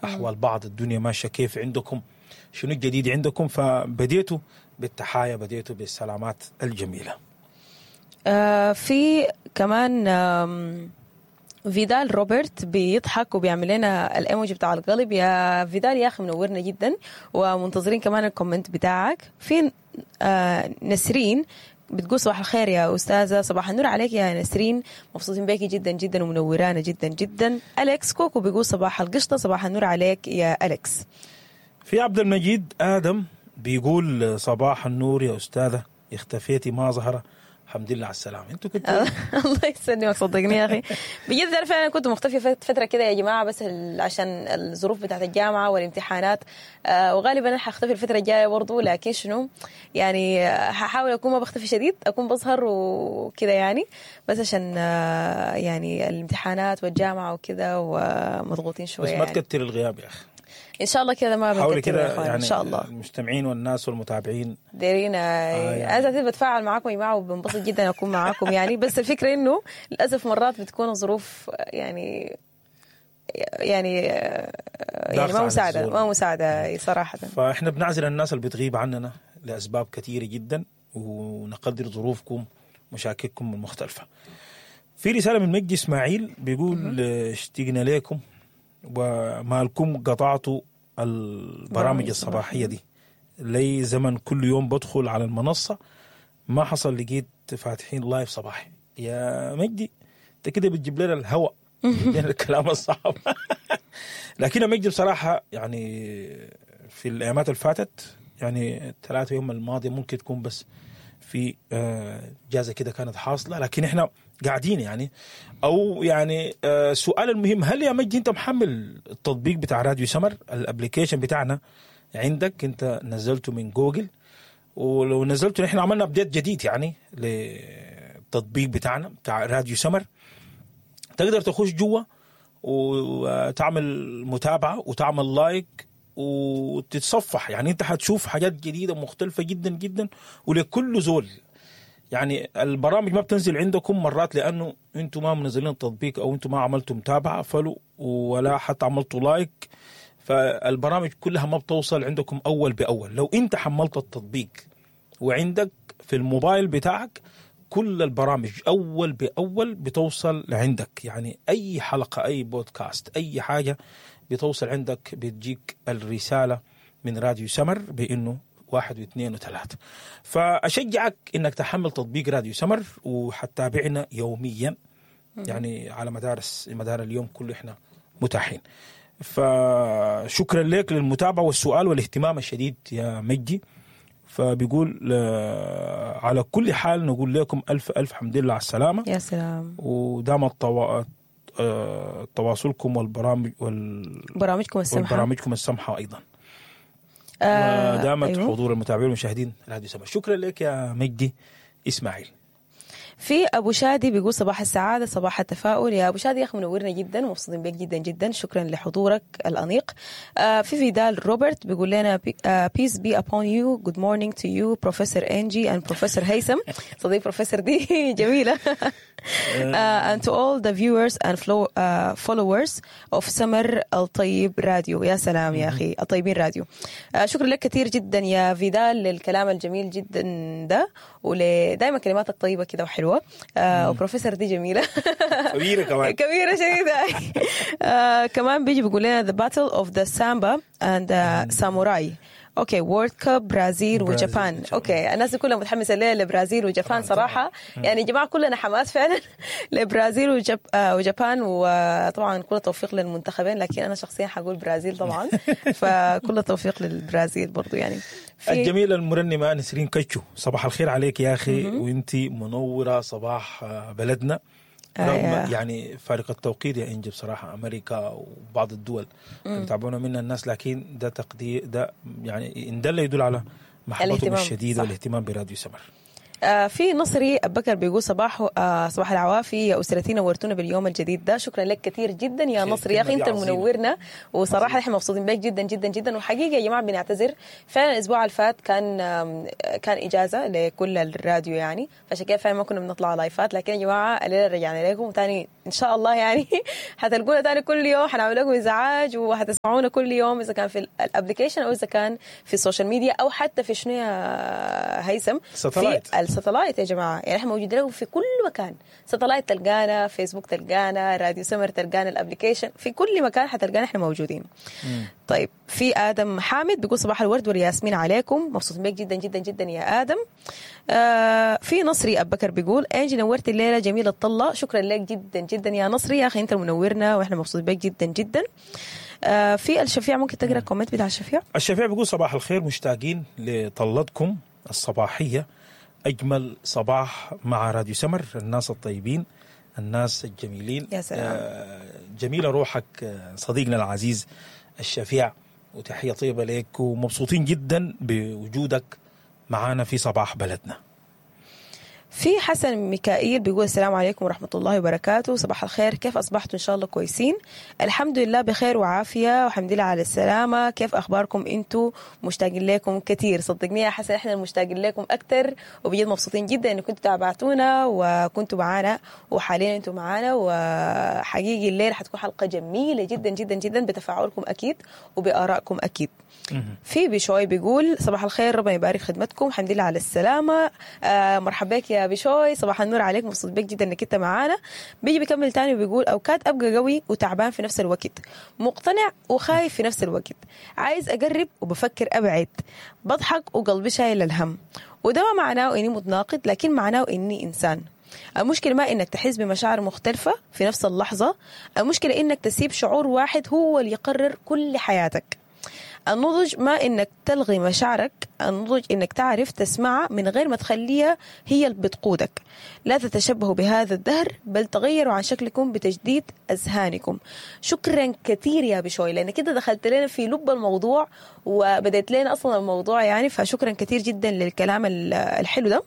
احوال بعض، الدنيا ماشية كيف عندكم، شنو الجديد عندكم. فبديتوا بالتحايا، بديتوا بالسلامات الجميلة. في كمان فيدال روبرت بيضحك وبيعمل لنا الايموجي بتاع القلب. يا فيدال يا اخي منورنا جدا، ومنتظرين كمان ال comment بتاعك. في نسرين بتقول صباح الخير يا أستاذة. صباح النور عليك يا نسرين، مبسوطين بيكي جدا جدا ومنورانا جدا جدا. أليكس كوكو بيقول صباح القشطة، صباح النور عليك يا أليكس. في عبد المجيد آدم بيقول صباح النور يا أستاذة، اختفيتي ما ظهر، الحمد لله على السلامة. انتوا كنتوا الله يسلمك، صدقني يا أخي بجد أنا فعلا كنت مختفية فترة كده يا جماعة، بس عشان الظروف بتاعت الجامعة والامتحانات، وغالبا أنا حختفي الفترة الجاية برضو، لكن شنو يعني هحاول أكون ما بختفي شديد، أكون بظهر وكده يعني، بس عشان يعني الامتحانات والجامعة وكده ومضغوطين شوية. بس ما يعني. تكتر الغياب يا أخي، إن شاء الله كده ما حاولي بنكتر يا كده إخوان يعني إن شاء الله. المستمعين والناس والمتابعين دايرين يعني. انا ذاتي بتفاعل معاكم يا جماعة وبنبسط جدا اكون معاكم يعني، بس الفكرة انه للاسف مرات بتكون الظروف يعني يعني يعني ضاغطة ما على مساعدة، الزول. ما مساعدة صراحة. فاحنا بنعذر الناس اللي بتغيب عننا لاسباب كثيرة جدا، ونقدر ظروفكم مشاكلكم المختلفة. في رسالة من مجدي اسماعيل بيقول اشتقنا لكم ومالكم قطعتوا البرامج الصباحية دي، لي زمن كل يوم بدخل على المنصة ما حصل لقيت فاتحين live صباحي. يا مجدي انت كده بتجيب لنا الهواء، بتجيب لنا الكلام الصعب. لكن يا مجدي بصراحة يعني في الايامات اللي فاتت، يعني 3 يوم الماضية ممكن تكون بس في جازه كده كانت حاصله، لكن احنا قاعدين يعني. او يعني السؤال المهم، هل يا مجدي انت محمل التطبيق بتاع راديو سمر، ال application بتاعنا عندك، انت نزلته من جوجل؟ ولو نزلته نحن عملنا update جديد يعني للتطبيق بتاعنا بتاع راديو سمر، تقدر تخش جوا وتعمل متابعه وتعمل like وتتصفح، يعني انت حتشوف حاجات جديدة مختلفة جدا جدا ولكل زول. يعني البرامج ما بتنزل عندكم مرات لانه انتم ما منزلين التطبيق او انتم ما عملتوا متابعه follow ولا حتى عملتوا like، فالبرامج كلها ما بتوصل عندكم اول باول. لو انت حملت التطبيق وعندك في الموبايل بتاعك كل البرامج اول باول بتوصل لعندك، يعني اي حلقة، اي بودكاست، اي حاجة بتوصل عندك، بتجيك الرسالة من راديو سمر بانه 1 و2 و3. فاشجعك انك تحمل تطبيق راديو سمر وحتابعنا يوميا، يعني على مدار اليوم كله احنا متاحين. فشكرا لك للمتابعة والسؤال والاهتمام الشديد يا مجدي. فبيقول على كل حال نقول لكم ألف ألف حمد لله على السلامة. يا سلام. ودام تواصلكم والبرامج برامجكم السمحة، والبرامجكم السمحة أيضا. ودامت أيوه. حضور المتابعين والمشاهدين راديو سمر. شكرا لك يا مجدي إسماعيل. في أبو شادي بيقول صباح السعادة، صباح التفاؤل. يا أبو شادي يا أخي منورنا جدا ومبسوطين بك جدا جدا، شكرا لحضورك الأنيق. في فيدال روبرت بيقول لنا peace be upon you, good morning to you Professor Angie and Professor هيثم. صديق بروفيسور دي جميلة. And to all the viewers and followers of سمر الطيب راديو. يا سلام يا أخي، الطيبين راديو. شكرا لك كثير جدا يا فيدال للكلام الجميل جدا ده، ودائما كلماتك طيبة كده وحلوة. وبروفيسور دي جميلة كبيرة كمان، كبيرة شديدة. كمان بيجي بيقول لنا the battle of the samba and the samurai. okay، World Cup برازيل و Japan. okay، الناس كلها متحمسة ليه لبرازيل و Japan صراحة. يعني يا جماعة كلنا حماس فعلا لبرازيل و Japan، وطبعا كل التوفيق للمنتخبين، لكن انا شخصيا حقول برازيل طبعا. فكل التوفيق للبرازيل برضو يعني. الجميلة المرنمة نسرين كتشو، صباح الخير عليك يا اخي، وانت منورة صباح بلدنا رغم يعني فارق التوقيت يا انجي. بصراحة امريكا وبعض الدول اللي بيتابعونا منها الناس، لكن ده تقدير، ده يعني ان دل يدل على محبتهم الشديدة والاهتمام براديو سمر. في نصري أبو بكر بيقول صباح صباح العوافي يا اسرتي، نورتونا باليوم الجديد ده. شكرا لك كثير جدا يا نصري يا اخي، انت منورنا وصراحة احنا مبسوطين بك جدا جدا جدا. وحقيقة يا جماعة بنعتذر فعلا، الاسبوع اللي فات كان اجازه لكل الراديو يعني، فعشان كده فعلا ما كنا بنطلع لايفات، لكن يا جماعة الليلة رجعنا لكم وثاني ان شاء الله يعني حتلقونا تاني كل يوم، حنعمل لكم ازعاج وحتسمعونا كل يوم، اذا كان في ال application او اذا كان في ال social media او حتى في شنو يا هيثم؟ satellite. في ال satellite يا جماعة. يعني احنا موجودين لكم في كل مكان، satellite تلقانا، فيسبوك تلقانا، راديو سمر تلقانا، ال application، في كل مكان حتلقانا احنا موجودين. طيب في ادم حامد بيقول صباح الورد والياسمين عليكم، مبسوط بيك جدا جدا جدا يا ادم. في نصري ابو بكر بيقول انجي نورتي الليلة، جميلة الطله، شكرا لك جدا جدا يا نصري، يا اخي انت منورنا واحنا مبسوط بيك جدا جدا. في الشفيع، ممكن تقرا ال comment بتاع الشفيع؟ الشفيع بيقول صباح الخير، مشتاقين لطلتكم الصباحية، اجمل صباح مع راديو سمر، الناس الطيبين الناس الجميلين. يا سلام. جميلة روحك صديقنا العزيز الشفيع، وتحية طيبة لك، ومبسوطين جدا بوجودك معانا في صباح بلدنا. في حسن ميكائيل بيقول السلام عليكم ورحمة الله وبركاته، صباح الخير، كيف أصبحتوا؟ إن شاء الله كويسين، الحمد لله بخير وعافية والحمد لله على السلامة، كيف أخباركم أنتوا؟ مشتاقين لكم كثير. صدقني يا حسن إحنا المشتاقين لكم أكثر، وبجد مبسوطين جدا إن كنتوا تابعتونا وكنتوا معانا وحاليا أنتوا معانا، وحقيقي الليلة حتكون حلقة جميلة جدا جدا جدا بتفاعلكم أكيد وبآرائكم أكيد. في بشوي بيقول صباح الخير، ربنا يبارك خدمتكم، الحمد لله على السلامة. مرحبا بك يا بشوي، صباح النور عليك، مبسوط بك جدا انك انت معانا. بيجي بيكمل تاني وبيقول اوقات ابقى قوي وتعبان في نفس الوقت، مقتنع وخايف في نفس الوقت، عايز اقرب وبفكر ابعد، بضحك وقلبي شايل الهم، وده ما معناه اني متناقض، لكن معناه اني انسان. المشكلة ما إنك تحس بمشاعر مختلفة في نفس اللحظة، المشكلة إنك تسيب شعور واحد هو اللي يقرر كل حياتك. النضج ما إنك تلغي مشاعرك، النضج إنك تعرف تسمعها من غير ما تخليها هي اللي بتقودك. لا تتشبهوا بهذا الدهر، بل تغيروا عن شكلكم بتجديد أذهانكم. شكرا كثير يا بشوي، لأن كده دخلت لنا في لب الموضوع وبدأت لنا أصلا الموضوع يعني، فشكرا كثير جدا للكلام الحلو ده،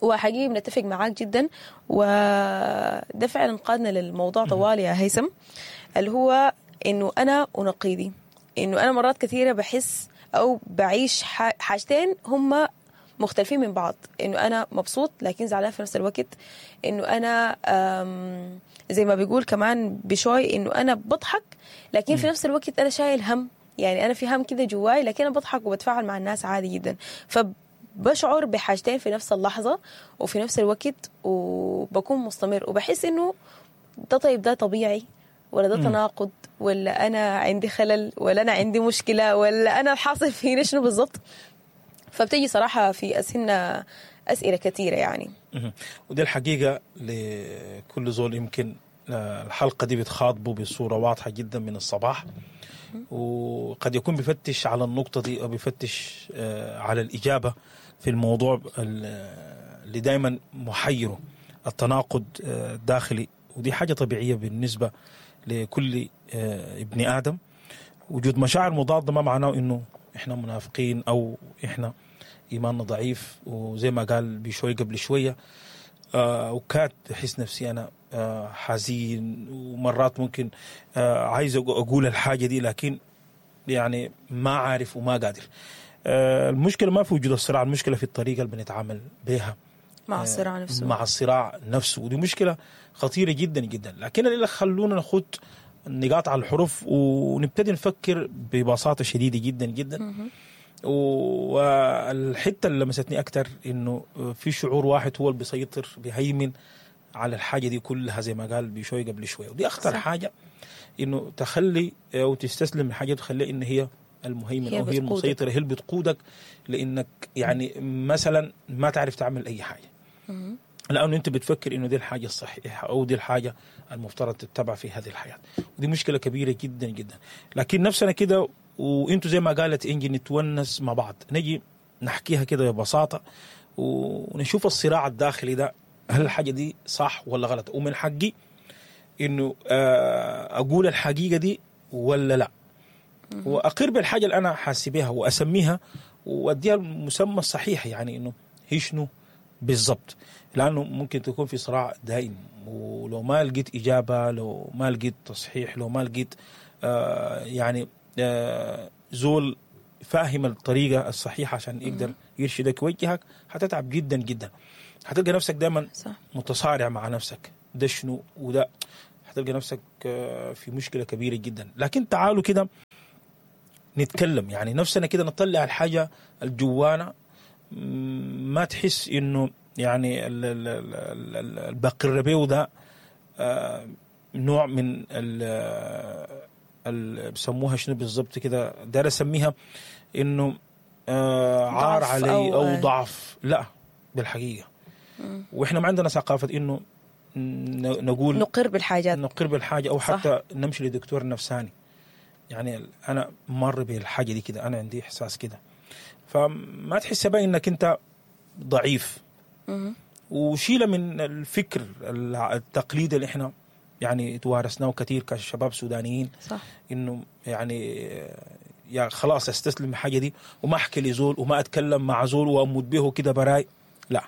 وحقيقي بنتفق معاك جدا، وده فعلا قادنا للموضوع طوال يا هيثم، اللي هو إنه أنا ونقيضي، إنه أنا مرات كثيرة بحس أو بعيش حاجتين هما مختلفين من بعض، إنه أنا مبسوط لكن زعلان في نفس الوقت، إنه أنا زي ما بيقول كمان بشوي إنه أنا بضحك لكن في نفس الوقت أنا شايل هم، يعني أنا في هم كده جواي لكن أنا بضحك وبتفاعل مع الناس عادي جدا. فبشعر بحاجتين في نفس اللحظة وفي نفس الوقت، وبكون مستمر وبحس إنه ده طيب ده طبيعي ولا ده تناقض، ولا أنا عندي خلل، ولا أنا عندي مشكلة، ولا أنا حاصل فيني شنو بالضبط. فبتيجي صراحة في أسئلة أسئلة كثيرة يعني. ودي الحقيقة لكل زول يمكن الحلقة دي بتخاطبه بصورة واضحة جدا من الصباح، وقد يكون بيفتش على النقطة دي أو بيفتش على الإجابة في الموضوع اللي دايما محيره، التناقض الداخلي. ودي حاجة طبيعية بالنسبة لكل ابن آدم. وجود مشاعر مضادة ما معناه إنه إحنا منافقين أو إحنا إيماننا ضعيف. وزي ما قال بشوي قبل شوية، وكات بحس نفسي أنا حزين، ومرات ممكن عايز أقول الحاجة دي لكن يعني ما عارف وما قادر. المشكلة ما في وجود الصراع، المشكلة في الطريقة اللي بنتعامل بها مع الصراع نفسه، مع الصراع نفسه. ودي مشكلة خطيرة جدا جدا. لكن اللي خلونا ناخد النقاط على الحروف ونبتدي نفكر ببساطة شديدة جدا جدا. والحتة اللي لمستني أكتر إنه في شعور واحد هو اللي بيسيطر، بيهيمن على الحاجة دي كلها زي ما قال بشوي قبل شوية. ودي أخطر صح. حاجة إنه تخلي أو تستسلم الحاجة وتخليها إن هي المهيمن أو هي المسيطرة، هي اللي بتقودك، لأنك يعني مثلا ما تعرف تعمل أي حاجة لأنه أنت بتفكر إنه دي الحاجة الصحيحة أو دي الحاجة المفترض تتبع في هذه الحياة. ودي مشكلة كبيرة جدا جدا. لكن نفسنا كده، وإنتوا زي ما قالت إنجي نتونس مع بعض، نجي نحكيها كده ببساطة ونشوف الصراع الداخلي ده، هل الحاجة دي صح ولا غلط، ومن حقي إنه أقول الحقيقة دي ولا لا، وأقر بالحاجة اللي أنا حاسبها وأسميها وأديها المسمى الصحيح، يعني إنه هي شنو بالضبط. لأنه ممكن تكون في صراع دائم، ولو ما لقيت إجابة، لو ما لقيت تصحيح، لو ما لقيت يعني زول فاهم الطريقة الصحيحة عشان يقدر يرشدك ويوجهك، هتتعب جدا جدا. هتلقى نفسك دائما متصارع مع نفسك، ده شنو وده، حتلقى نفسك في مشكلة كبيرة جدا. لكن تعالوا كده نتكلم، يعني نفسنا كده نطلع الحاجة الجوانا، ما تحس انه يعني البقر بيه ده نوع من بسموها شنو بالضبط كده، داير اسميها انه عار علي او ضعف. لا بالحقيقة واحنا ما عندنا ثقافة انه نقول نقر بالحاجات، نقر بالحاجة او حتى نمشي لدكتور نفساني. يعني انا مر بالحاجة دي كده، انا عندي احساس كده، فما تحس بقى انك انت ضعيف. وشيله من الفكر التقليدي اللي احنا يعني توارثناه كثير كشباب سودانيين، صح. انه يعني يا خلاص استسلم الحاجة دي وما احكي لزول وما اتكلم مع زول واموت به كده براي. لا،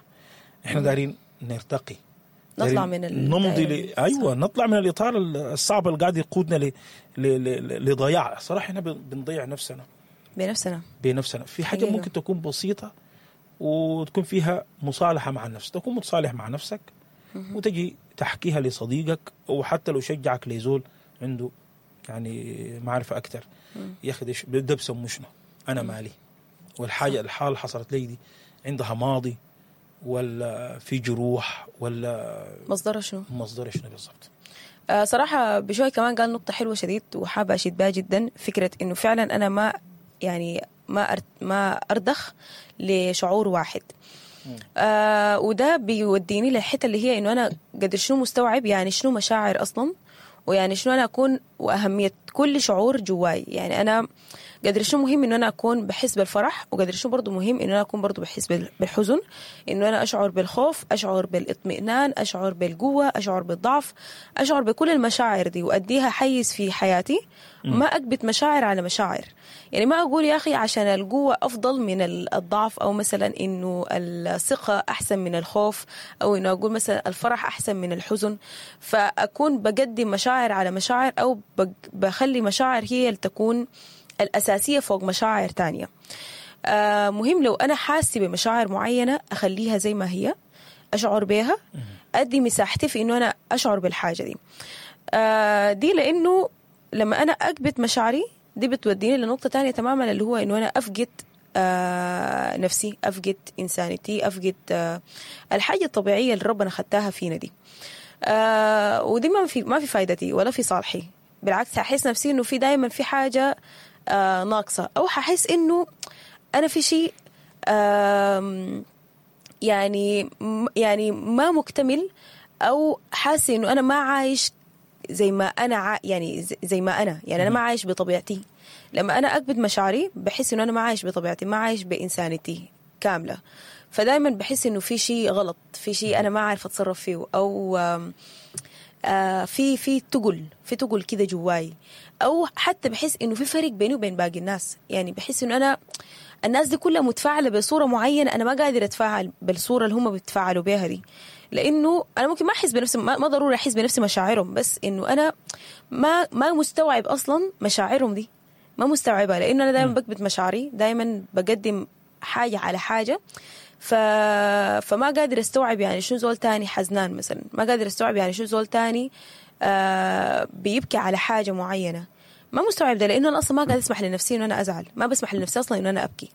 احنا دارين نرتقي، نطلع من نمضي ايوه نطلع من الاطار الصعب اللي قاعد يقودنا لضياع. صراحة احنا بنضيع نفسنا بنفسنا في حاجة حقيقة. ممكن تكون بسيطة وتكون فيها مصالحه مع النفس، تكون متصالح مع نفسك وتجي تحكيها لصديقك، وحتى لو شجعك لزول عنده يعني معرفة اكثر. يا اخي ده بسموه شنو؟ انا مالي، والحاجة الحالة حصلت لي دي عندها ماضي ولا في جروح ولا مصدرها شنو؟ مصدرها شنو بالضبط؟ صراحة بشوي كمان قال نقطة حلوة شديد وحابة أشيد بها جدا، فكرة إنه فعلا أنا ما يعني ما أرضخ لشعور واحد. وده بيوديني للحتة اللي هي إنه أنا قدر شنو مستوعب يعني شنو مشاعر أصلا، ويعني شنو أنا أكون، وأهمية كل شعور جواي. يعني أنا قدر شنو مهم إنه أنا أكون بحس بالفرح، وقدر شنو برضو مهم إنه أنا أكون برضو بحس بالحزن، إنه أنا أشعر بالخوف، أشعر بالاطمئنان، أشعر بالقوة، أشعر بالضعف، أشعر بكل المشاعر دي وأديها حيز في حياتي. ما أكبت مشاعر على مشاعر، يعني ما أقول يا أخي عشان القوة أفضل من الضعف، أو مثلا إنه الثقة أحسن من الخوف، أو إنه أقول مثلا الفرح أحسن من الحزن، فأكون بقدم مشاعر على مشاعر، أو بخلي مشاعر هي اللي تكون الأساسية فوق مشاعر تانية. مهم لو أنا حاسة بمشاعر معينة أخليها زي ما هي، أشعر بيها، أدي مساحتي في إنه أنا أشعر بالحاجة دي. دي لأنه لما أنا أكبت مشاعري دي بتوديني لنقطة تانية تماما، اللي هو إنه أنا أفقد نفسي، أفقد إنسانيتي، أفقد الحاجة الطبيعية اللي ربنا خدتها فينا دي. ودي ما في فايدتي ولا في صالحي، بالعكس هحس نفسي إنه في دايما في حاجة ناقصة، أو هحس إنه أنا في شيء يعني ما مكتمل، أو حاسة إنه أنا ما عايش زي ما أنا يعني زي ما أنا يعني أنا ما عايش بطبيعتي. لما أنا أكبت مشاعري بحس إنه أنا ما عايش بطبيعتي، ما عايش بإنسانيتي كاملة، فدايما بحس إنه في شيء غلط، في شيء أنا ما عارف أتصرف فيه، أو في تقل، في تقل كده جواي، أو حتى بحس إنه في فرق بيني وبين باقي الناس. يعني بحس إنه أنا الناس دي كلها متفاعلة بصورة معينة، أنا ما قادر أتفاعل بالصورة اللي هم بيتفاعلوا بيها دي، لأنه أنا ممكن ما أحس بنفسي، ما ضروري أحس بنفسي مشاعرهم، بس إنه أنا ما مستوعب أصلا مشاعرهم دي، ما مستوعبة، لأنه أنا دائما بكبت مشاعري، دائما بقدم حاجة على حاجة، فما قادر استوعب يعني شو زول تاني حزنان مثلا، ما قادر استوعب يعني شو زول تاني بيبكي على حاجة معينة، ما مستوعب ده، لأنه أنا أصلا ما قاعد أسمح لنفسي إنه أنا أزعل، ما بسمح لنفسي أصلا إنه أنا أبكي.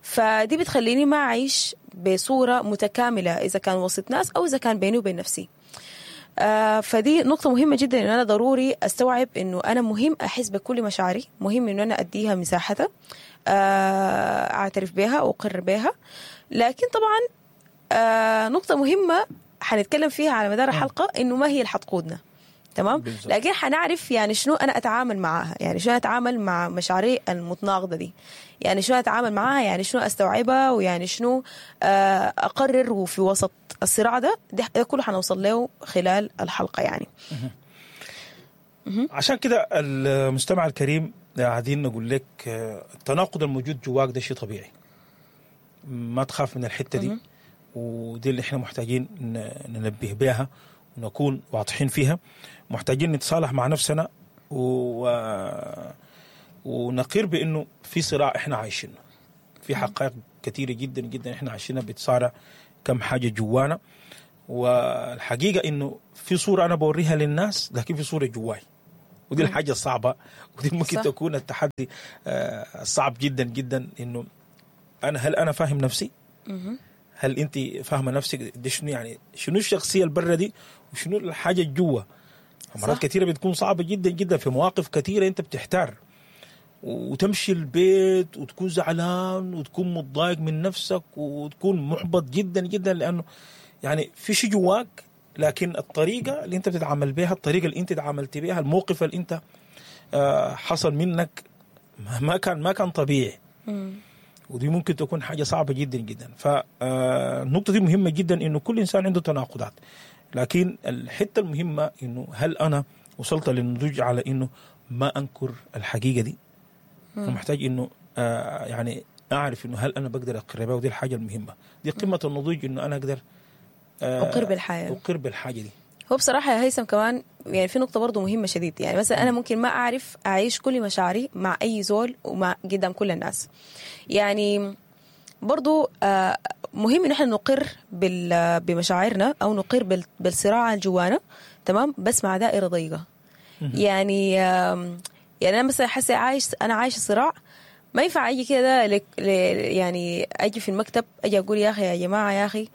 فدي بتخليني ما أعيش بصورة متكاملة، إذا كان وسط ناس أو إذا كان بيني وبين نفسي. فدي نقطة مهمة جدا، إنه أنا ضروري أستوعب إنه أنا مهم أحس بكل مشاعري، مهم إنه أنا أديها مساحتها، أعترف بها وأقر بها. لكن طبعا نقطة مهمة حنتكلم فيها على مدار الحلقة، إنه ما هي اللي حتقودنا، تمام؟ بالزبط. لكن حنعرف يعني شنو أنا أتعامل معاها، يعني شنو أتعامل مع مشاعري المتناقضة دي، يعني شنو أتعامل معاها، يعني شنو أستوعبها، ويعني شنو أقرر وفي وسط الصراع ده كله حنوصل له خلال الحلقة يعني. عشان كده المستمع الكريم قاعدين نقول لك التناقض الموجود جواك ده شيء طبيعي، ما تخاف من الحتة دي، ودي اللي احنا محتاجين ننبه بها ونكون واضحين فيها. محتاجين نتصالح مع نفسنا ونقر بأنه في صراع احنا عايشينه، في حقائق كثيرة جدا جدا احنا عايشينها بتصارع كم حاجة جوانا. والحقيقة انه في صوره انا بوريها للناس، لكن في صوره جواي، ودي الحاجة الصعبة، ودي ممكن صح. تكون التحدي الصعب جدا جدا، انه انا هل انا فاهم نفسي؟ هل انت فاهمه نفسك دي شنو؟ يعني شنو الشخصية البرة دي وشنو الحاجة الجوا؟ مرات كثيرة بتكون صعبة جدا جدا، في مواقف كثيرة انت بتحتار وتمشي البيت وتكون زعلان وتكون متضايق من نفسك وتكون محبط جدا جدا، لانه يعني في شيء جواك، لكن الطريقة اللي انت بتتعامل بها، الطريقة اللي انت تعاملت بها، الموقف اللي انت حصل منك ما كان طبيعي. ودي ممكن تكون حاجة صعبة جدا جدا. فالنقطه دي مهمة جدا، انه كل انسان عنده تناقضات، لكن الحتة المهمة انه هل انا وصلت للنضوج على انه ما انكر الحقيقة دي؟ انا محتاج انه يعني اعرف انه هل انا بقدر اقر بها، ودي الحاجة المهمة، دي قمة النضوج، انه انا اقدر اقر بالحياة، اقر بالحاجة دي. هو بصراحة يا هيثم كمان يعني في نقطة برضو مهمة شديد، يعني مثلا أنا ممكن ما أعرف أعيش كل مشاعري مع أي زول ومع قدام كل الناس. يعني برضو مهم إن احنا نقر بمشاعرنا أو نقر بالصراع الجوانا، تمام، بس مع دائرة ضيقة. يعني يعني أنا مثلا حاسة أنا عايش صراع، ما ينفع أجي كده يعني أجي في المكتب أجي أقول يا أخي يا جماعة يا أخي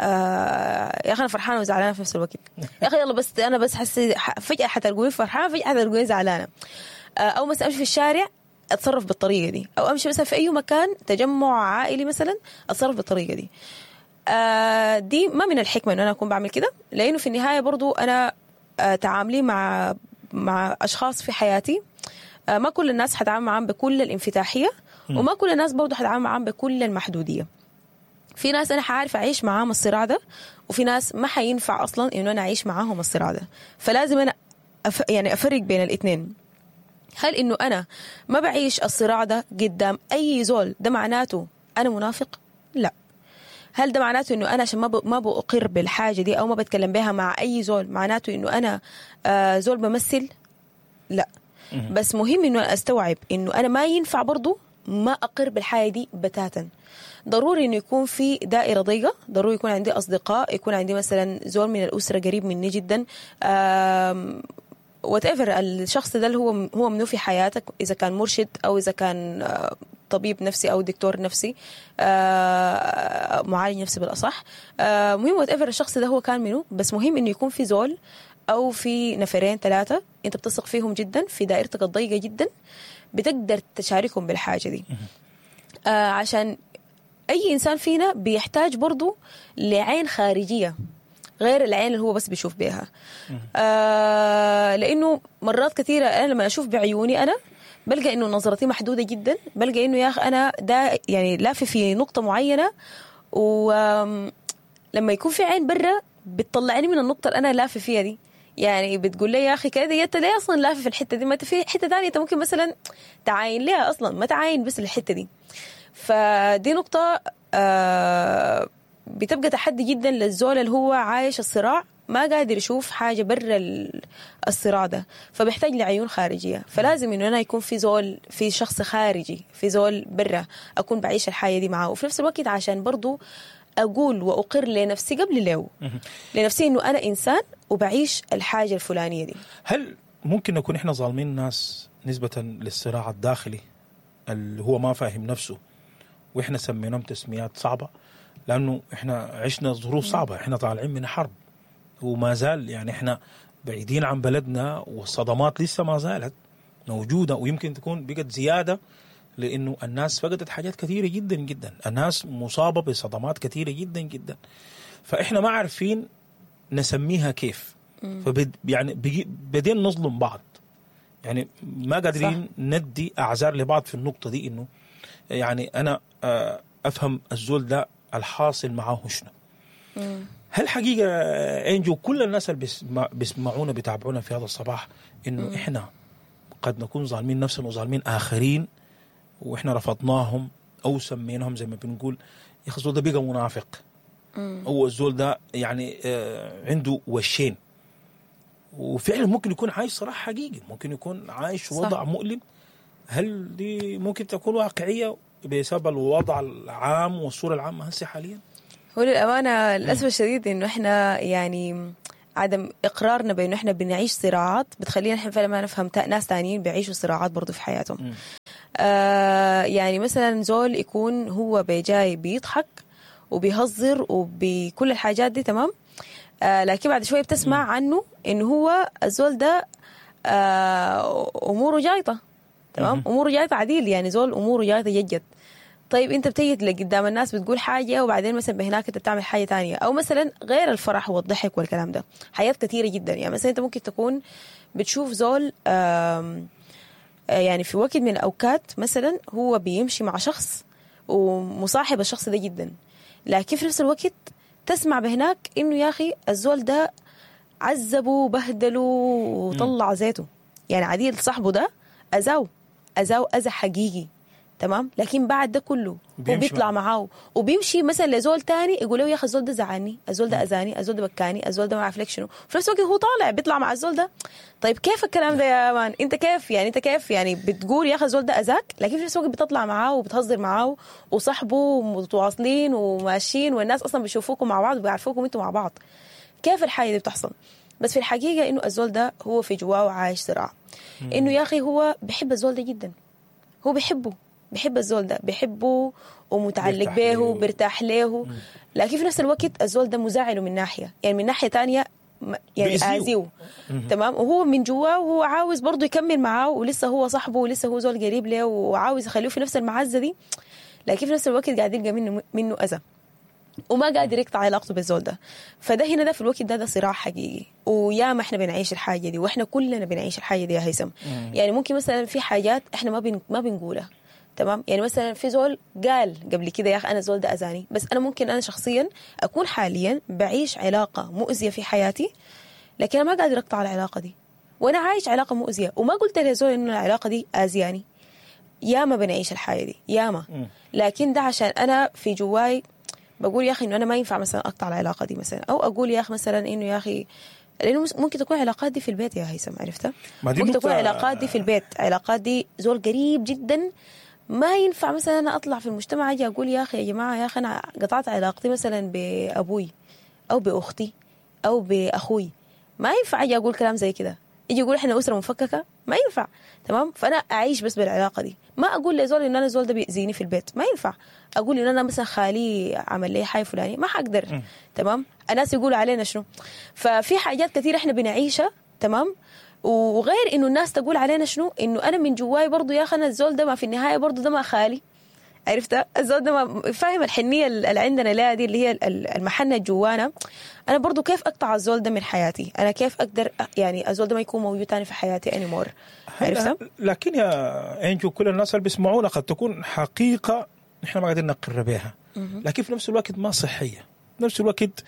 يا اخي انا فرحانة وزعلانه في نفس الوقت، يا اخي يلا بس انا بس حسي فجاة حتلقوني فرحانة، فجاة حتلقوني زعلانة. او مثلا امشي في الشارع اتصرف بالطريقة دي، او امشي مثلا في اي مكان تجمع عائلي مثلا اتصرف بالطريقة دي. دي ما من الحكمة انه انا اكون بعمل كده، لانه في النهاية برضو انا تعاملي مع اشخاص في حياتي، ما كل الناس حتعامل معاهم بكل الانفتاحيه، وما كل الناس برضو حتعامل معاهم بكل المحدوديه. في ناس أنا حعرف أعيش معاهم الصراع ده، وفي ناس ما حينفع أصلا إنه أنا أعيش معاهم الصراع ده. فلازم أنا يعني أفرق بين الاثنين. هل إنه أنا ما بعيش الصراع ده قدام أي زول ده معناته أنا منافق؟ لا. هل ده معناته إنه أنا عشان ما بأقر بالحاجة دي أو ما بتكلم بها مع أي زول معناته إنه أنا زول بمثل؟ لا. بس مهم إنه أنا أستوعب إنه أنا ما ينفع برضو ما أقر بالحاجة دي بتاتا. ضروري إنه يكون في دائرة ضيقة، ضروري يكون عندي أصدقاء، يكون عندي مثلا زول من الأسرة قريب مني جدا، whatever الشخص ده اللي هو منه في حياتك، إذا كان مرشد أو إذا كان طبيب نفسي أو دكتور نفسي، معالج نفسي بالأصح. مهم whatever الشخص ده هو كان منه، بس مهم إنه يكون في زول أو في نفرين ثلاثة أنت بتثق فيهم جدا في دائرتك الضيقة جدا، بتقدر تشاركهم بالحاجة دي. عشان أي إنسان فينا بيحتاج برضو لعين خارجية غير العين اللي هو بس بيشوف بيها. لأنه مرات كثيرة أنا لما أشوف بعيوني أنا بلقى إنه نظرتي محدودة جدا، بلقى إنه يا أخي أنا ده يعني لافي في نقطة معينة، ولما يكون في عين برا بتطلعني من النقطة اللي أنا لافي فيها دي. يعني بتقول لي يا أخي كده أنت ليه أصلا لافي في الحتة دي؟ ما أنت في حتة ثانية أنت ممكن مثلا تعاين ليها أصلا، ما تعاين بس الحتة دي. فدي نقطة بتبقى تحدي جدا للزول اللي هو عايش الصراع، ما قادر يشوف حاجة برا الصراع ده، فبيحتاج لعيون خارجية. فلازم إنه أنا يكون في زول، في شخص خارجي، في زول برا أكون بعيش الحياة دي معاه، وفي نفس الوقت عشان برضو أقول وأقر لنفسي قبل له لنفسي إنه أنا إنسان وبعيش الحاجة الفلانية دي. هل ممكن نكون إحنا ظالمين الناس نسبة للصراع الداخلي اللي هو ما فاهم نفسه، وإحنا سميناهم تسميات صعبة لأنه إحنا عشنا ظروف صعبة، إحنا طالعين من حرب وما زال يعني إحنا بعيدين عن بلدنا، والصدمات لسه ما زالت موجودة، ويمكن تكون بقت زيادة لأنه الناس فقدت حاجات كثيرة جدا جدا، الناس مصابة بصدمات كثيرة جدا جدا، فإحنا ما عارفين نسميها كيف. فبد يعني بدين نظلم بعض، يعني ما قادرين ندي أعذار لبعض في النقطة دي، إنه يعني أنا أفهم الزول ده الحاصل معاه شنو. هل حقيقة إنجو كل الناس اللي بيسمعونا بيتابعونا في هذا الصباح إنه إحنا قد نكون ظالمين نفسنا وظالمين آخرين، وإحنا رفضناهم أو سميناهم زي ما بنقول يا أخي الزول ده بقى منافق، أو الزول ده يعني عنده وشين، وفعلا ممكن يكون عايش صراحة حقيقي، ممكن يكون عايش وضع مؤلم. هل دي ممكن تكون واقعية بسبب الوضع العام والصورة العامة هسه حاليا؟ هو للأمانة للأسف الشديد إنه إحنا يعني عدم إقرارنا بإنه إحنا بنعيش صراعات بتخلينا إحنا فعلا ما نفهم ناس تانيين بيعيشوا صراعات برضو في حياتهم. يعني مثلا زول يكون هو بجاي بيضحك وبيهزر وبكل الحاجات دي تمام، لكن بعد شوية بتسمع عنه إنه هو الزول ده أموره جايطة، تمام، أموره جايطة عديل، يعني زول أموره جايطة جد. طيب انت بتيجي لقدام الناس بتقول حاجة وبعدين مثلا بهناك انت بتعمل حاجة تانية، او مثلا غير الفرح والضحك والكلام ده، حاجات كثيرة جدا. يعني مثلا انت ممكن تكون بتشوف زول يعني في وقت من الاوقات مثلا هو بيمشي مع شخص ومصاحب الشخص ده جدا، لكن في نفس الوقت تسمع بهناك انه يا اخي الزول ده عذبه وبهدله وطلع زيته، يعني عديل صاحبه ده اذاه اذى حقيقي، تمام. لكن بعد ده كله هو بيطلع معاه وبيمشي مثلا لزول تاني يقول له يا اخي الزول ده زعلني، الزول ده اذاني، الزول ده بكاني، الزول ده ما عارف لك شنو، في نفس الوقت هو طالع بيطلع مع الزول ده. طيب كيف الكلام ده يا مان؟ انت كيف يعني، انت كيف يعني بتقول يا اخي الزول ده اذاك، لكن في نفس الوقت بتطلع معاه وبتهزر معاه وصاحبه ومتواصلين وماشيين، والناس اصلا بيشوفوكم مع بعض وبيعرفوكم انتوا مع بعض. كيف الحاجة دي بتحصل؟ بس في الحقيقة انه الزول ده هو في جواه عايش صراع، انه يا اخي هو بيحب الزول ده جدا، هو بيحبه، بيحب الزول ده، بيحبه ومتعلق به وبيرتاح له، لكن في نفس الوقت الزول ده مزعله من ناحية، يعني من ناحية تانية يعني آذيه، تمام. وهو من جواه وهو عاوز برضه يكمل معاه، ولسه هو صاحبه ولسه هو زول قريب له وعاوز يخليه في نفس المعزة دي، لكن في نفس الوقت قاعد يلقى منه أذى وما قادر يقطع علاقته بالزول ده. فده هنا ده في الوقت ده صراع حقيقي، وياما احنا بنعيش الحاجة دي، واحنا كلنا بنعيش الحاجة دي يا هيثم. يعني ممكن مثلا في حاجات احنا ما بنقولها، تمام. يعني مثلا في زول قال قبل كده يا اخي انا الزول ده اذاني، بس انا ممكن انا شخصيا اكون حاليا بعيش علاقة مؤذية في حياتي، لكن انا ما قادر اقطع العلاقة دي، وانا عايش علاقة مؤذية وما قلت لزول انه العلاقة دي اذياني. ياما بنعيش الحاجة دي ياما، لكن ده عشان انا في جواي بقول يا اخي انه انا ما ينفع مثلا اقطع العلاقة دي مثلا، او اقول يا اخي مثلا انه يا اخي، لانه ممكن تكون علاقات دي في البيت يا هيثم، عرفتها؟ ممكن تكون علاقات دي في البيت، علاقات دي زول قريب جدا، ما ينفع مثلا انا اطلع في المجتمع اجي اقول يا اخي يا جماعة يا اخي انا قطعت علاقتي مثلا بابوي او باختي او باخوي، ما ينفع اجي اقول كلام زي كده، يجي يقول احنا اسره مفككة، ما ينفع، تمام. فانا اعيش بس بالعلاقة دي، ما اقول لزول ان انا زول ده بيأذيني في البيت، ما ينفع اقول ان انا مثلا خالي عمل لي حاجة فلانيه، ما حقدر، تمام. الناس يقولوا علينا شنو. ففي حاجات كثيرة احنا بنعيشها، تمام، وغير انه الناس تقول علينا شنو، انه انا من جواي برضو يا اخي انا الزول ده ما في النهاية برضو ده ما خالي، عرفت؟ الزول ده ما فاهم الحنيه اللي عندنا لها دي، اللي هي المحنة جوانا. انا برضو كيف اقطع الزول ده من حياتي؟ انا كيف اقدر يعني الزول ده ما يكون موجود تاني في حياتي anymore، عرفت؟ لكن يا انجو كل الناس اللي بيسمعونا قد تكون حقيقة نحن ما قادرين نقر بها، لكن في نفس الوقت ما صحية، في نفس الوقت